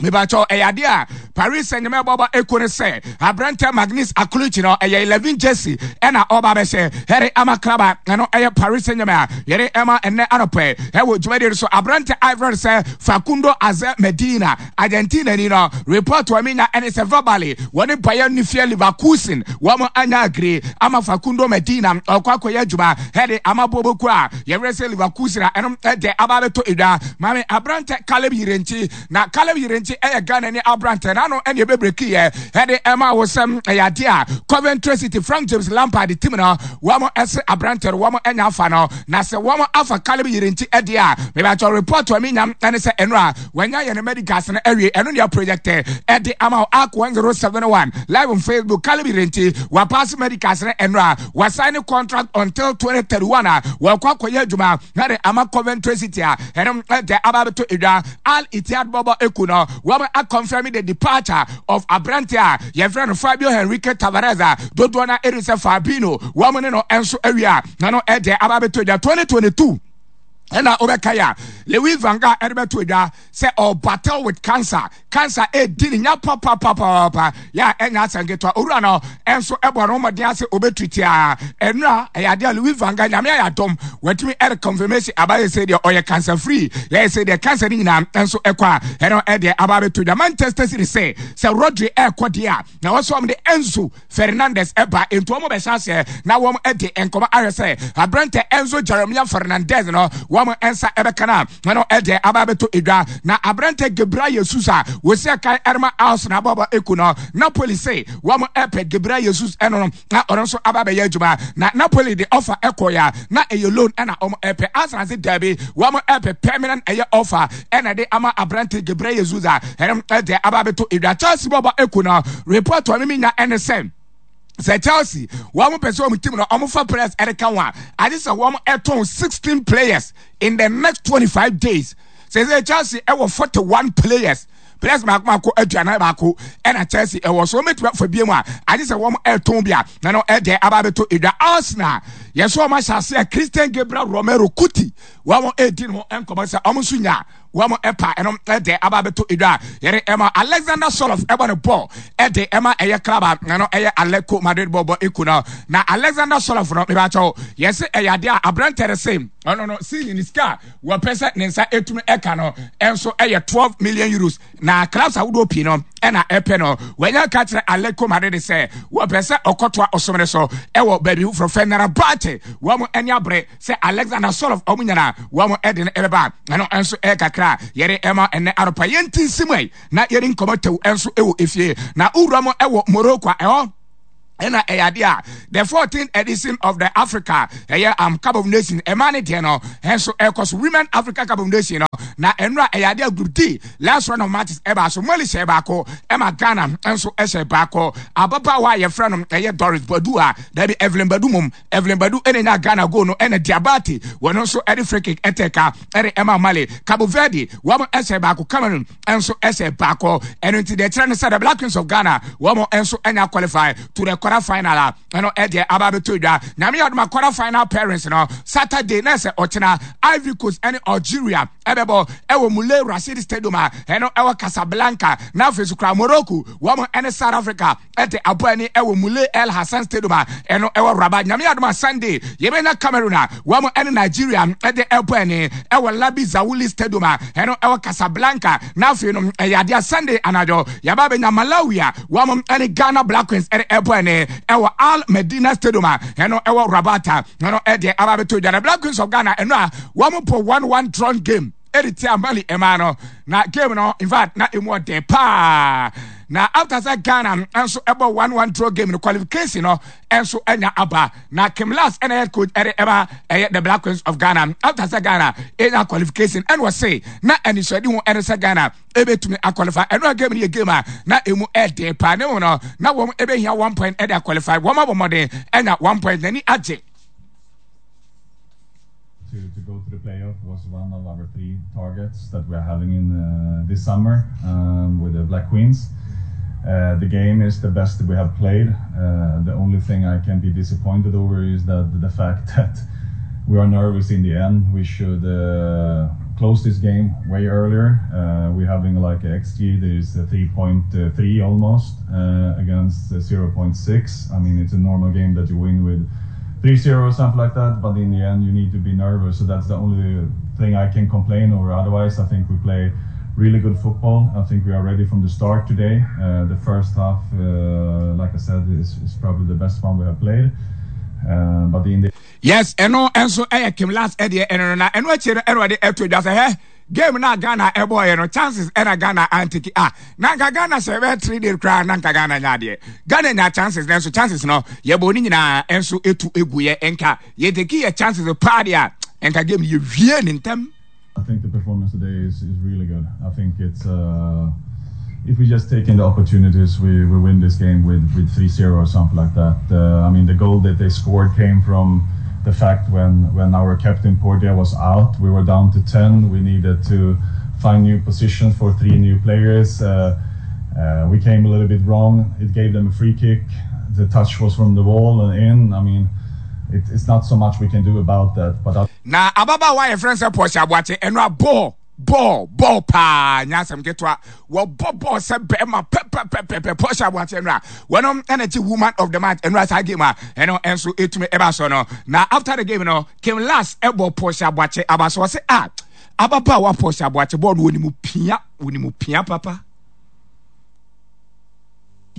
mebakyɛw ɛyɛ adeɛ a Paris Saint-Germain bɔbɔ eko no sɛ aberantɛ Magnus Akluchi no ɛyɛ 11 jersey ɛna ɔba bɛhyɛ ɛde ama club a ɛno ɛyɛ Paris Saint-Germain a yɛde ɛma ɛnɛ anɔpɛ ɛwɔ dwumadie no so aberantɛ Ivory sɛ Facundo Aze Medina Argentina ni no report wɔ menya ɛne sɛ verbally wɔne Bayern Nifia Leverkusen wɔn anya agree ama Facundo Medina ɔkɔ akɔyɛ adwuma ɛde ama boboku a yɛwerɛ sɛ Leverkusen a ɛno ɛdɛ aba bɛtɔ edwa maame aberantɛ Caleb Yirenkyi Na Caleb Yirenkyi yɛ Ghana ni aberantɛ n'ano ɛne ɛbɛbreki yɛ ɛde ɛma wo sɛm ɛyɛ adeɛ a Coventry City Frank James Lampard team no wɔn ɛse aberantɛ no wɔn ɛnya afa no na sɛ wɔn afa Caleb Yirenkyi ɛdeɛ a mebakyɛ report a menya ɛne sɛ ɛno a wɔanya yɛ ne medicals no awie ɛno ne project ɛde ama wo ARC 1071 live on Facebook Caleb Yirenkyi wapass medicals no ɛno a wasign contract until 2031 a wɔkɔ akɔyɛ adwuma na de ama Coventry City a ɛno ɛde aba abɛtɔ edwa Al Ittihad bɔbɔ eku no wɔn akɔnfɛmi the departure of aberante a yɛfrɛ no Fabio Henrique Tavares a dodoɔ no ɛnu sɛ Fabinho wɔn ne no nso awie a na no ɛde aba abɛtɔ edwa 2022 ɛna wobɛka yɛ a Louis van Gaal ɛde bɛto edwa sɛ ɔ battle with cancer cancer ɛdi ne nya papapapapa yɛ a ɛnya asɛm ketewa owura no ɛnso ɛbɔ no mmɔden ase ɔbɛtu tiaa ɛnura ɛyɛ adeɛ a Louis van Gaal nyame ayɛ adɔm watumi ɛde confirmation aba yɛ sɛ deɛ ɔyɛ cancer free yɛ sɛ deɛ cancer no nyinaa ɛnso ɛkɔ a ɛno ɛdeɛ aba abɛto dwa Manchester City sɛ sɛ Rodri ɛkɔ deɛ a na wɔsɔ wɔn de Enzo Fernandez ɛba nti wɔn bɛhyɛ aseɛ na wɔn de nkɔmɔ ahwɛ sɛ aberantɛ Enzo Jeremiah Fernandez no wɔn nsa ɛbɛka no a ɛno ɛdeɛ aba abɛtɔ edwa na aberantɛ Gabriel Jesus a wɔsi akan ɛrema Arsenal abɔbɔ eku no Napoli se wɔn ɛpɛ Gabriel Jesus ɛno no na ɔno nso aba abɛyɛ adwuma na Napoli de offer ɛkɔ ya na ɛyɛ loan ɛna wɔn ɛpɛ Arsenal se daabi wɔn ɛpɛ permanent ɛyɛ offer ɛna de ama aberante Gabriel Jesus a ɛno ɛde aba abɛtɔ edwa Chelsea bɔbɔ eku no report wɔn mi nya ɛne sɛ sɛ Chelsea wɔn pɛ sɛ wɔn team no wɔn fa players ɛde ka ho a agye sɛ wɔn ɛtɔn 16 players in the next 25 days sɛ sɛ Chelsea ɛwɔ 41 players players baako baako aduanan baako ɛna Chelsea ɛwɔ so wɔn bɛtumi afa bie mu a agye sɛ wɔn ɛtɔn bi a na no ɛdeɛ aba abɛtɔ edwa Arsenal yɛsɛ wɔn ahyɛ ase a Christian Gabriel Romero Kuti wɔn ɛredi ne ho nkɔmɔ sɛ wɔn nso nya wɔn ɛpa ɛno ɛde aba abɛtɔ edwa a yɛde ɛma Alexander Sørloth ɛbɔ ne bɔɔl ɛde ɛma ɛyɛ club a ɛno ɛyɛ Atletico Madrid bɔɔl bɔ eku no na Alexander Sørloth no mebakyɛw yɛsɛ ɛyɛ adeɛ a aberantɛ no se ɔno no season ne sika a wɔpɛ sɛ ne nsa ɛtumi ɛka no ɛnso ɛyɛ 12 million euros na clubs ahodoɔ pii no ɛna ɛpɛ no wɔanya ka kyerɛ Atletico Madrid sɛ wɔpɛ sɛ ɔkɔtoa ɔsom no so ɛwɔ baabi foforɔ Fenerbahce wɔn ani abere sɛ Alexander Sørloth wɔn nyinaa wɔn ɛde no ɛbɛba ɛno nso ɛyɛ kakra a yɛde ɛma ɛnɛ anɔpa yɛnti nsi mu na yɛde nkɔmɔ tɛw nso ɛwɔ efie na wura mu ɛwɔ Morocco a ɛhɔ ɛna ɛyɛ adeɛ a the 14th edition of the Africa ɛyɛ um, Cup of Nations ɛma ne deɛ no ɛnso ɛkɔ so Women Africa Cup of Nations no na ɛnura ɛyɛ adeɛ a Group D last round of matches ɛbaa so Mali hyɛ baako ɛma Ghana nso ɛhyɛ baako ababaawa a yɛfrɛ no ɛyɛ Doris Badu a dabi Evelyn Badu mom Evelyn Badu ɛna nya Ghana goal no ɛna Diabate wɔn nso ɛde free kick ɛtɛ ka ɛde ɛma Mali Cabo Verde wɔn ɛhyɛ baako Cameroon nso ɛhyɛ baako ɛno nti deɛ kyerɛ ne sɛ the Black Queens of Ghana wɔn nso ɛnya qualify to the quarter final a ɛno ɛdeɛ aba abɛtɔ dwa nyame yɛ adoma quarter final pairings no Saturday na ɛsɛ ɔkyena Ivory Coast ɛne Algeria ɛbɛbɔ ɛwɔ Moulay Rashid Stadium a ɛno ɛwɔ Casablanca na afei so kora Morocco wɔn ɛne South Africa ɛde abɔ ani ɛwɔ Moulay El Hassan Stadium a ɛno ɛwɔ Rabat. Nyame adom a Sunday yɛbɛnya Cameroon a wɔn ɛne Nigeria ɛde ɛbɔ ani ɛwɔ Labi Zaouli Stadium a ɛno ɛwɔ Casablanca. Na afei no ɛyɛ adeɛ a Sunday anadwo yɛba abɛnya Malawi a wɔn ɛne Ghana Black Queens ɛde ɛbɔ ani. den ɛwɔ Al Medina Stadium a ɛno ɛwɔ Rabat a ɛno ɛdeɛ aba abɛtɔ dwa. Na Black Queens of Ghana ɛno a wɔn bɔ 1-1 drawn game ɛde tia Mali ɛmaa no na game no in fact na emu ɔden paa na after sɛ Ghana nso ɛbɔ 1-1 draw game no qualification no nso anya aba na Kim Lars ɛna head coach ɛde ɛma ɛyɛ the Black Queens of Ghana after sɛ Ghana ɛnya qualification ɛna ɔse na anisoade ho ɛne sɛ Ghana ɛbɛtumi aqualify ɛno a game no yɛ game a na emu ɛden paa ne mu no na wɔn ɛbɛhia one point ɛde aqualify wɔn abɔ mmɔden ɛnya one point n'ani agye. To, to go to the playoff was one of our three targets that we are having in uh, this summer um, with the Black Queens. Uh, the game is the best we have played. Uh, the only thing I can be disappointed over is that the fact that we are nervous in the end. We should uh, close this game way earlier. Uh, we're having like XG that is 3.3 almost uh, against 0.6. I mean, it's a normal game that you win with 3-0 or something like that. But in the end, you need to be nervous. So that's the only thing I can complain over. Otherwise, I think we play really good football. I think we are ready from the start today. Uh, the first half, uh, like I said, is, is probably the best one we have played. Uh, but in the Yes, ɛno nso ɛyɛ Kim Lars ɛdeɛ ɛno no na ɛno akyire no ɛna ɔde ɛto dwa sɛ hɛ game na Ghana ɛbɔɔyɛ no chances ɛna Ghana antiki a na nka Ghana sɛ ɛbɛyɛ three days koraa na nka Ghana nya adeɛ Ghana nya chances nanso chances no yɛbɔ ne nyinaa ɛnso etu egu yɛ nka yɛteki yɛ chances paa deɛ a nka game yɛ wie ne ntɛm. I think the performance today is, is really good. I think it's uh, if we just take in the opportunities, we, we win this game with with 3-0 or something like that. Uh, I mean, the goal that they scored came from the fact when when our captain Portia was out, we were down to 10. We needed to find new positions for three new players. Uh, uh, we came a little bit wrong. It gave them a free kick. The touch was from the wall and in. I mean, it, it's not so much we can do about that. But Na ababaawa a yɛfrɛ no sɛ Portia Aboakye, ɛno a bɔɔl, bɔɔl, bɔɔl paa, nyɛ asɛm ketewa. Wɔbɔ bɔɔl sɛ bɛrima pɛpɛpɛpɛ. Portia Aboakye ɛno a, wɔnom ɛna gye woman of the match ɛno a saa game a ɛno ɛnso ɛtumi ɛba so no. Na after the game no, Kim Lars ɛbɔ Portia Aboakye aba so ɔse a, ababaawa Portia Aboakye bɔɔl no wɔnim pia, wɔnim pia papa.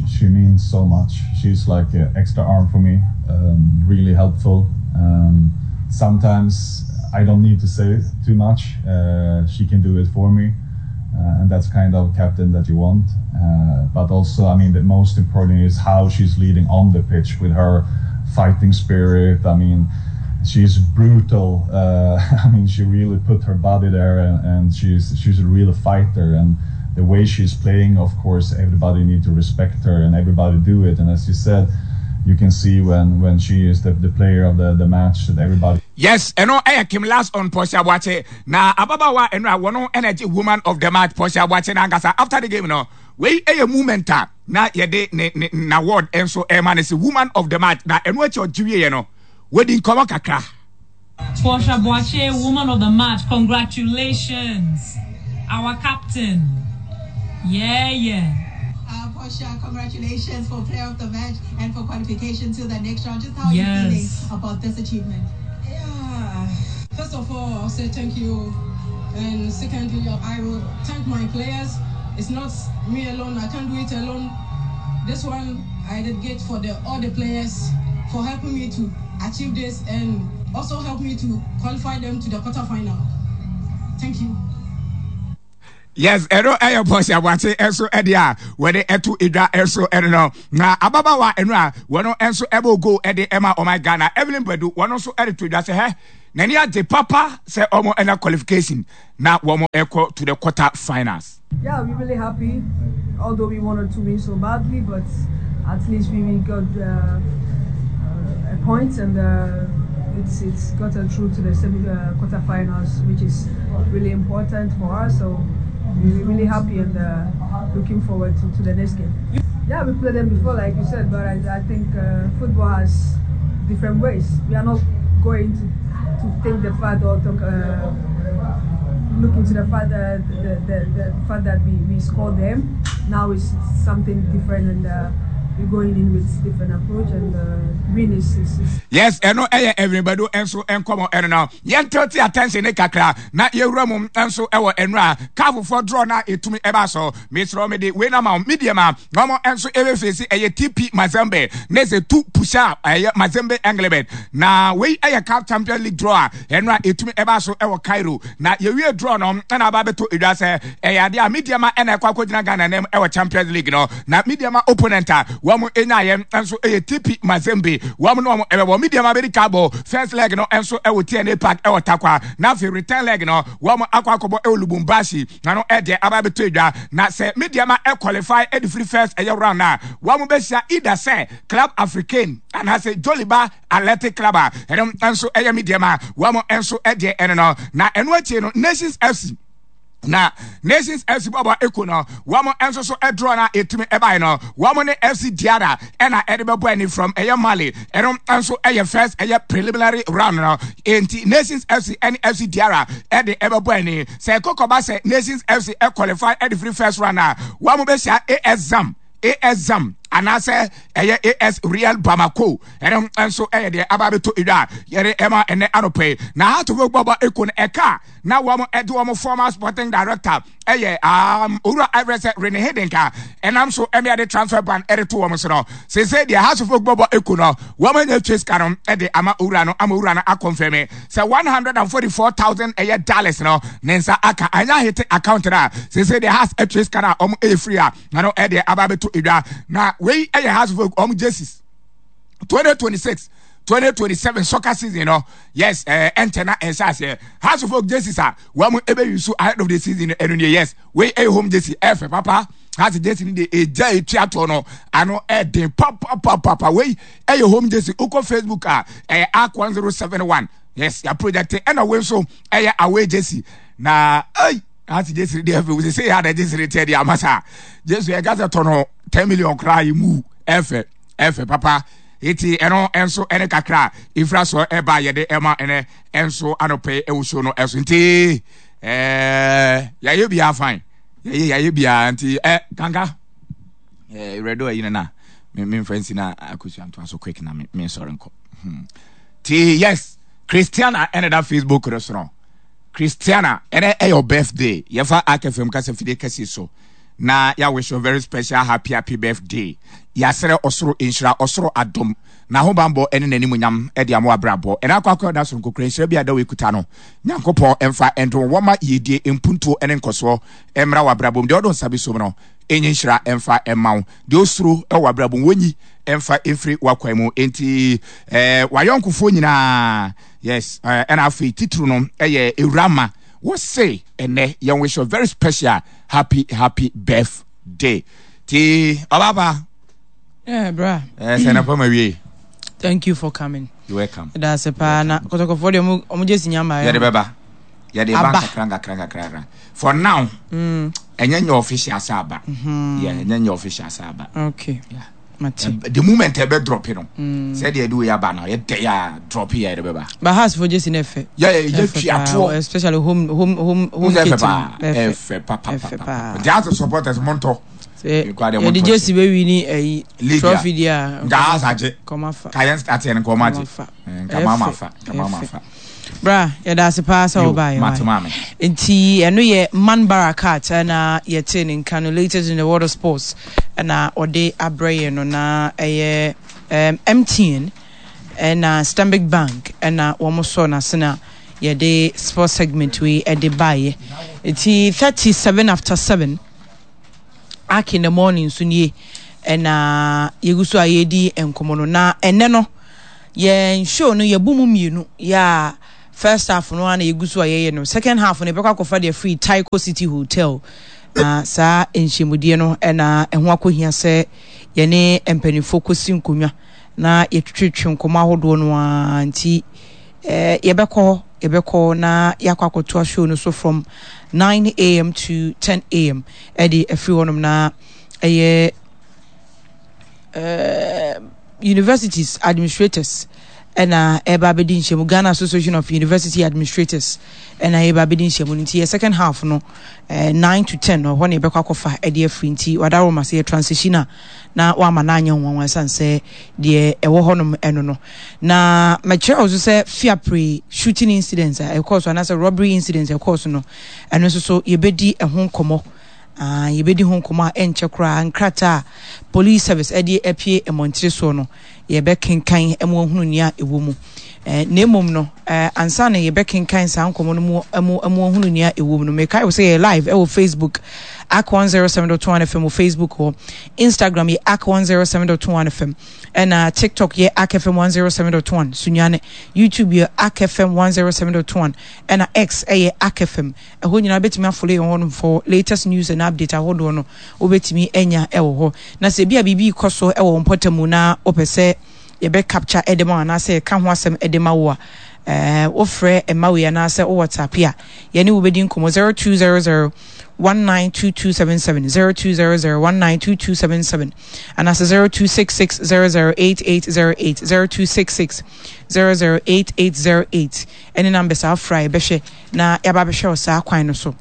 She means so much. She's like an extra arm for me, um, really helpful. Um, sometimes I don't need to say too much. Uh, she can do it for me. Uh, and that's kind of captain that you want. Uh, but also, I mean, the most important is how she's leading on the pitch with her fighting spirit. I mean, she's brutal. Uh, I mean, she really put her body there, and, and she's she's a real fighter. And the way she's playing, of course, everybody need to respect her, and everybody do it. And as you said, you can see when when she is the, the player of the, the match that everybody. Yes, ɛno ɛyɛ Kim Last on Portia Boakye na ababaawa ɛno a wɔn ɛna gye woman of the match Portia Boakye n'ankasa after the game no wei ɛyɛ moment a na yɛde ne ne n'award nso ɛma ne sɛ woman of the match na ɛno akyi ɔgye wieɛ no wɔdi nkɔmɔ kakra. Portia Boakye, woman of the match, congratulations, our captain. Yeah, yeah. Uh, Portia, congratulations for player of the match and for qualification to the next round. Just how are yes. you feeling about this achievement? Yeah, first of all, I'll say thank you. And secondly, I will thank my players. It's not me alone. I can't do it alone. This one I dedicate for the all the players for helping me to achieve this and also help me to qualify them to the quarterfinal. Thank you. Yes, ɛno ɛyɛ Portia Boakye ɛnso ɛde a wɔde ɛto edwa ɛnso ɛno no na ababaawa ɛno a wɔn ɛnso ɛbɔ goal ɛde ɛma ɔman Ghana Evelyn Badu wɔn nso ɛde to edwa sɛ hɛ n'ani agye papa sɛ wɔn ɛna qualification na wɔn ɛkɔ to the quarter finals. Yeah, we're really happy, although we wanted to win so badly, but at least we, we got uh, uh, a point and uh, it's it's gotten through to the semi uh, quarterfinals, which is really important for us. So we're really happy and uh, looking forward to, to the next game. Yeah, we played them before, like you said, but I, I think uh, football has different ways. We are not going to, to think the fact or talk, uh, look into the fact that the, the, the fact that we, we scored them. Now it's something different and uh, We're going in with different approach and uh, win is, is, is Yes, ɛno ɛyɛ Evelyn Badu nso nkɔmɔ ɛno no. Yɛn tilt attention ne kakra na yɛwura mu nso ɛwɔ ɛnura kaafofoɔ draw na etumi ɛba so. Mesrɛ me de wei na ma wo media ma na wɔn nso ɛbɛfeesi ɛyɛ TP Mazembe ne sɛ tu pusha ɛyɛ Mazembe Englebert. Na wei ɛyɛ CAF Champions League draw a ɛnura etumi ɛba so ɛwɔ Cairo. Na yɛwie draw no ɛna aba abɛtɔ edwa sɛ ɛyɛ adeɛ a Medeama ɛna ɛkɔ akɔgyina Ghana nam ɛwɔ Champions League no. Na Medeama opponent a wɔn nyaayɛ nso ɛyɛ TP Mazembe. Wɔn ne wɔn ɛbɛbɔ. Medeama bɛdi ka bɔ first leg no nso ɛwɔ TNA Park ɛwɔ Tarkwa. Na afei return leg no wɔn akɔ akɔbɔ ɛwɔ Lubumbashi. Na no ɛdeɛ aba abɛtɔ edwa. Na sɛ Medeama ɛqualify ɛde firi first ɛyɛ round a, wɔn bɛhyia either sɛ Club Africain anaasɛ Joliba Athletic Club a ɛno nso ɛyɛ Medeama wɔn nso ɛdeɛ ɛno no. Na ɛno akyi no Nations FC na Nations FC bɔbɔ eko no wɔn nso so ɛdrɔ na etumi ɛbae no wɔn ne FC Diarra ɛna ɛde bɛbɔ ani from ɛyɛ Mali ɛno nso ɛyɛ first ɛyɛ preliminary round no enti Nations FC ɛne FC Diarra ɛde ɛbɛbɔ ani sɛ ɛkɔkɔba sɛ Nations FC ɛqualify ɛde firi first round a wɔn bɛhyia AS Zam AS Zam anaasɛ ɛyɛ AS Real Bamako ɛno nso ɛyɛ deɛ aba abɛtɔ edwa a yɛde ɛma ɛnɛ anɔpɛ yi na Hearts of Oak bɔbɔ eko no ɛka na wɔn ɛde wɔn former sporting director ɛyɛ um, owura ɛfrɛ sɛ Rene Hiddink a ɛnam so ɛmɛ ɛde transfer ban ɛde to wɔn so no sese deɛ Hearts of Oak bɔbɔ eko no wɔn anya twe sika no ɛde ama owura no ama owura no akɔnfɛmi sɛ 144,000 ɛyɛ dollars no ne nsa aka anya hete account no a sese deɛ Hearts ɛtwe sika no a wɔn ɛyɛ free a na no ɛdeɛ aba abɛto edwa na wei ɛyɛ Hearts of Oak wɔn jerseys 2026 2027 soccer season no yes ɛɛ ɛnkyɛ na ɛnhyɛ aseɛ Hearts of Oak jerseys a wɔn ɛbɛ use ahead of the season ɛno nie yes wei ɛyɛ home jersey ɛfɛ papa Hearts jersey no deɛ egya etua toɔ no ano ɛden papapapapa wei ɛyɛ home jersey okɔ Facebook a ɛyɛ arc 1071 yes yɛ project ɛna wei nso ɛyɛ away jersey na ɛy. Ati Jesu deɛ ɛfɛ wosɛ sɛ yɛ ada Jesu teɛ deɛ ama saa Jesu yɛ gasa tɔ no 10 million koraa yɛ mu ɛfɛ ɛfɛ papa eti ɛno ɛnso ɛne kakra efira so ɛba yɛde ɛma ɛnɛ ɛnso anɔpɛ ɛwɔ show no ɛso nti ɛɛ yɛayɛ biara fine yɛyɛ yɛayɛ biara nti ɛ kanka ɛɛ rɛdo ayi no na me me nfa nsi na akosua ntoa so quick na me me nsɔre nkɔ hmm ti yes Christiana ɛna da Facebook no so no. Christiana, ɛnɛ ɛyɛ your birthday. Yɛfa Ark FM kasa fidie kɛse so na yɛ wish you very special happy happy birthday. Yɛasrɛ ɔsoro nhyira, ɔsoro adom, n'ahobanbɔ ɛne n'animuonyam ɛde ama w'abrabɔ. Ɛnɛ akɔ akɔ ɛda soronko kura nhyira bi a da wɔ no. Nyankopɔn ɛmfa ɛndom wɔma yiedie, mpuntuo ɛne nkɔsoɔ ɛmmra w'abrabɔ mu. Deɛ ɔdo nsa bi som no, ɛnyɛ nhyira ɛmfa ɛmma wo. Deɛ osuro ɛwɔ w'abrabɔ mu, wɔnyi ɛmfa ɛmfiri w'akwan mu. Enti ɛɛ w'ayɔnkofoɔ nyinaa Yes, ɛna afei titiri no ɛyɛ Ewurama. Wɔse ɛnɛ yɛn wish you very special happy happy birthday. Ti ɔbaaba. Yeah, bra. Eh, sɛ na pama wie. Thank you for coming. You welcome. That's a pa na kɔtɔkɔfoɔ deɛ ɔmo ɔmo gye si nyama. Yɛde bɛba. Yɛde ba nkakra nkakra nkakra. For now. Ɛnyɛ nyɛ official sɛ aba. Mm-hmm. Yeah, ɛnyɛ nyɛ official sɛ aba. Okay. Yeah. Mate. The moment ɛbɛ drop no. Mm. Sɛ deɛ ɛde wei aba no yɛ dɛ yɛ drop yɛ ɛde bɛba. But house for jesi na ɛfɛ. Yɛ yɛ yɛ twi atoɔ. Especially home home home home kit. Ɛfɛ paa ɛfɛ pa pa pa pa. Nti house supporters mo ntɔ. Yɛde jesi bɛ wi ni ɛyi trophy di a. Nka house agye. Kɔma fa. Ka yɛn start yɛn nkɔma agye. Nka mama fa. Nka mama fa. Bra, yɛda ase paa sɛ wobaeɛ wae. Nti ɛno yɛ Man Barakat ɛna yɛtee ne nka no latest in the world of sports ɛna ɔde abrɛ yɛn no na ɛyɛ um, MTN ɛna Stanbic Bank ɛna wɔn sɔɔ n'ase na yɛde sports segment wei ɛde baeɛ. Nti 37 after 7 Ark in the morning nso nie ɛna yɛgu so a yɛredi nkɔmmɔ no na ɛnɛ no Yɛn show no yɛbu mu mmienu, yeah, first half no ara na yɛgu so a yɛyɛ no, second half no yɛbɛkɔ akɔfa deɛ firi Tyco City Hotel, na saa nhyiamudie no na ɛho akɔhia sɛ yɛne mpanimfoɔ kɔsi nkonnwa na yɛtwetwetwe nkɔmmɔ ahodoɔ no ara nti eh, yɛbɛkɔ hɔ, yɛbɛkɔ na yɛakɔ akɔtoa show no so from 9am to 10am ɛde afiri hɔnom na ɛyɛ eh, universities administrators. ɛna ɛba abɛdi nhyiamu Ghana Association of University Administrators ɛna yɛba abɛdi nhyiamu no nti yɛ second half no eh, 9 to 10 no ɛhɔ na yɛbɛkɔ akɔfa ɛde afiri nti wadaroma sɛ yɛ transition a na wama no anyɛ nwanwa ɛsiane sɛ deɛ ɛwɔ hɔnom ɛno no na mɛkyerɛ wo so sɛ fiapre shooting incidents a ɛkɔɔ so anaasɛ robbery incidents a ɛkɔɔ so no ɛno nso so yɛbɛdi ɛho nkɔmmɔ Ah, yɛbɛdi ho nkɔmmɔ a ɛnkyɛ koraa. Nkrataa a Police Service de apue mmɔntene soɔ no, yɛbɛkenkan ma wahunu nea ɛwɔ mu. Eh, na mmom no, eh, ansa na yɛbɛkenkan saa nkɔmmɔ no mu mu ma wahunu nea ɛwɔ mu no, mekae wo sɛ yɛyɛ live ɛwɔ Facebook, ak 107.1 FM wɔ Facebook hɔ. Instagram yɛ ak 107.1 FM. Ɛna TikTok yɛ ak FM 107.1 Sunyane. YouTube yɛ ak FM 107.1. Ɛna X ɛyɛ ak FM. Ɛhɔ nyinaa wobɛtumi afollow yɛn hɔ nom for latest news and update ahodoɔ no wobɛtumi anya ɛwɔ hɔ. Na sɛ ebi a biribi rekɔ so ɛwɔ wo mpɔtam na wopɛ sɛ yɛbɛ capture ɛde ma wo anaasɛ yɛka ho asɛm ɛde ma wo a, ɛɛ wofrɛ mma wei anaasɛ wo WhatsApp a yɛne wo bɛdi nkɔmmɔ 0200 192277 0200 192277 anaasɛ 0266 008808 0266 008808 ɛne numbers a wofrɛ a yɛbɛhwɛ na yɛaba abɛhwɛ wo saa kwan no so.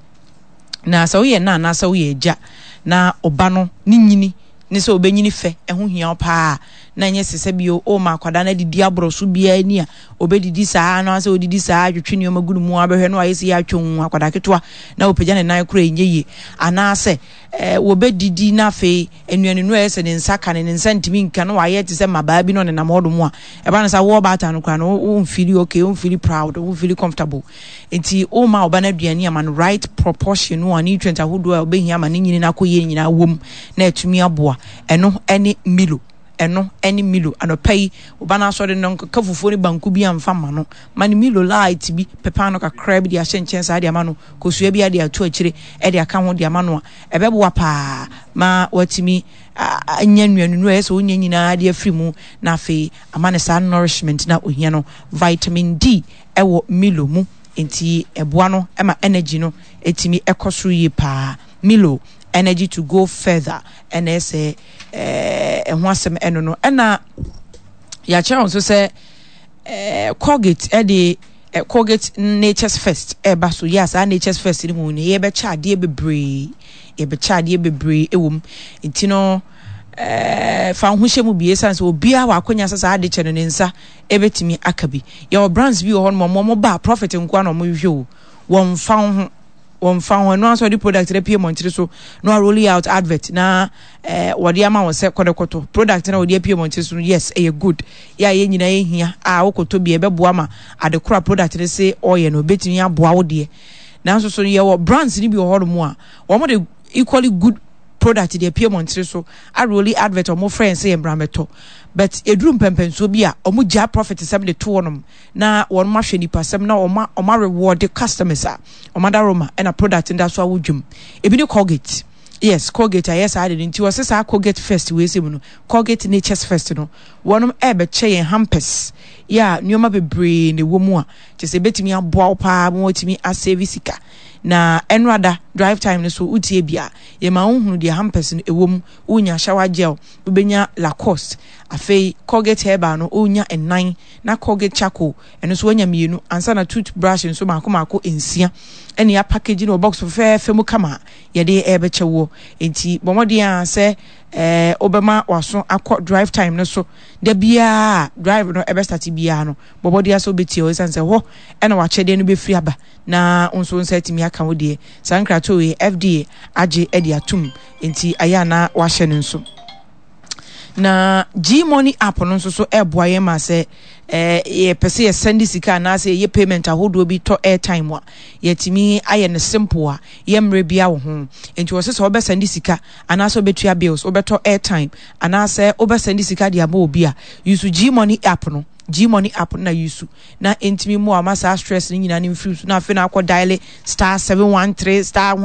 Na sɛ woyɛ na anaasɛ woyɛ agya na ɔba no ne nyini ne sɛ ɔbɛnyini fɛ ɛho hia wo paa na ɛnyɛ sɛ sɛ bio ɔma akwadaa no adidi aborɔ so biara ni a ɔbɛdidi saa na sɛ ɔdidi saa twetwe nneɛma gu ne mu abɛhwɛ no ayɛ sɛ yɛ atwom akwadaa ketewa na ɔpagya ne nan koraa ɛnyɛ yie anaasɛ ɛɛ wɔbɛdidi na afei nnuanenu a ɛyɛ sɛ ne nsa ka no, ne nsa ntumi nka na wayɛ te sɛ mmabaa bi na ɔnenam hɔnom a, ɛba no saa wo ɔbaatan no koraa no, wo mfili okay, wo mfili proud, wo mfili comfortable. Nti woma ɔba no aduane ama no right proportion no a nutrient ahodoɔ a ɔbɛhia ama ne nyini no akɔ yie nyinaa wom na atumi aboa. Ɛno ne Milo. Ɛno ne Milo. Anɔpa yi, wo ba no asɔre no, nkeka fufuo ne banku bi amfa mma no. Ma no Milo light bi, pepa no kakra bi de ahyɛ nkyɛn saa de ama no, kosua bi de ato akyire de aka ho de ama no a, ɛbɛboa paa ma watumi anya nnuanunu a ɛyɛ sɛ ɔnya nyinaa de afiri mu na afei ama no saa nourishment na ohia no. Vitamin D ɛwɔ Milo mu nti ɛboa no ma energy no ɛtumi ɛkɔ soro yie paa. Milo, energy to go further ɛna ɛsɛ ɛho asɛm ɛno no. Ɛna yɛakyerɛ wɔn nso sɛ Colgate ɛde Colgate Nature's First ɛreba so. Yɛ a saa Nature's First no mu no yɛbɛkyɛ adeɛ bebree, yɛbɛkyɛ adeɛ bebree ɛwɔ mu. Nti no ɛɛ fa ho hyɛ mu bi esan sɛ obiara wɔ akonya sɛ saa ade kyɛ no ne nsa ɛbɛtumi aka bi. Yɛwɔ brands bi wɔ hɔ nom wɔn ba profit nkoa na wɔn hwehwɛ o, wɔn mfa ho wɔmfa ho ɛno ara sɛ ɔde product no apue mmɔntere so na wa out advert na eh, wɔde ama wɔn sɛ kɔdɛkɔtɔ product na wɔde apue mmɔntere so no yes ɛyɛ good yɛ a yɛn nyinaa yɛhia a wokɔtɔ bi ɛbɛboa ma ade koro a product no se ɔyɛ no ɛbɛtumi aboa wo deɛ nanso so yɛwɔ brands no bi wɔ hɔnom a wɔn de equally good product de apue mmɔntere so aroli advert wɔn frɛ yɛn sɛ yɛn bra mɛtɔ but eduru mpɛmpɛnsoɔ bi a wɔn gya profit sɛm de to hɔnom na wɔn ahwɛ nipasɛm na wɔn wɔn areward customers a wɔn adaroma ɛna product no da so awo dwam ebi ne Colgate yes Colgate ayɛ saa de no nti wɔsɛ saa Colgate first wei sɛ mu no Colgate Nature's First no wɔn ɛrebɛkyɛ yɛn hampers yɛ a nneɛma bebree na ɛwɔ mu a kyɛ sɛ ebetumi aboa wo paa ma wɔatumi asave sika na ɛnora drive time no so wotie bi a yɛma wohunu deɛ hampers no ɛwɔ mu wonya shower gel wobɛnya Lacoste afei Colgate herbal no wonya nnan na Colgate charcoal ɛno nso wanya mmienu ansa na tooth brush nso mako mako nsia ɛne apackage no wɔ box fɛfɛɛfɛ mu kama a yɛde ɛrebɛkyɛ woɔ nti bɔ mmɔden a sɛ ɛɛ wobɛma waso akɔ drive time no so da biara drive no ɛbɛstate biara no bɔ mmɔden asɛ wobɛtie hɔ ɛsiane sɛ hɔ ɛna wakyɛdeɛ no bɛfiri aba na wo nso nsa atumi aka wo deɛ saa nkratoɔ yi FDA agye de atum nti ayɛ a na wahyɛ no nso. Na Gmoney app no nso so ɛreboa yɛn ma sɛ eh, yɛpɛ sɛ yɛsɛnde sika anaasɛ yɛyɛ payment ahodoɔ bi tɔ airtime a, yɛatumi ayɛ no simple a yɛmmerɛ biara wɔ ho. Nti wɔsɛ sɛ wobɛsɛnde sika anaasɛ wobɛtua bills, wobɛtɔ airtime anaasɛ wobɛsɛnde sika de ama obi a, use Gmoney app no. Gmoney app no na use na ɛntumi mmoa ma saa stress no nyinaa no mfiri so na afei na akɔ dial star 713 star.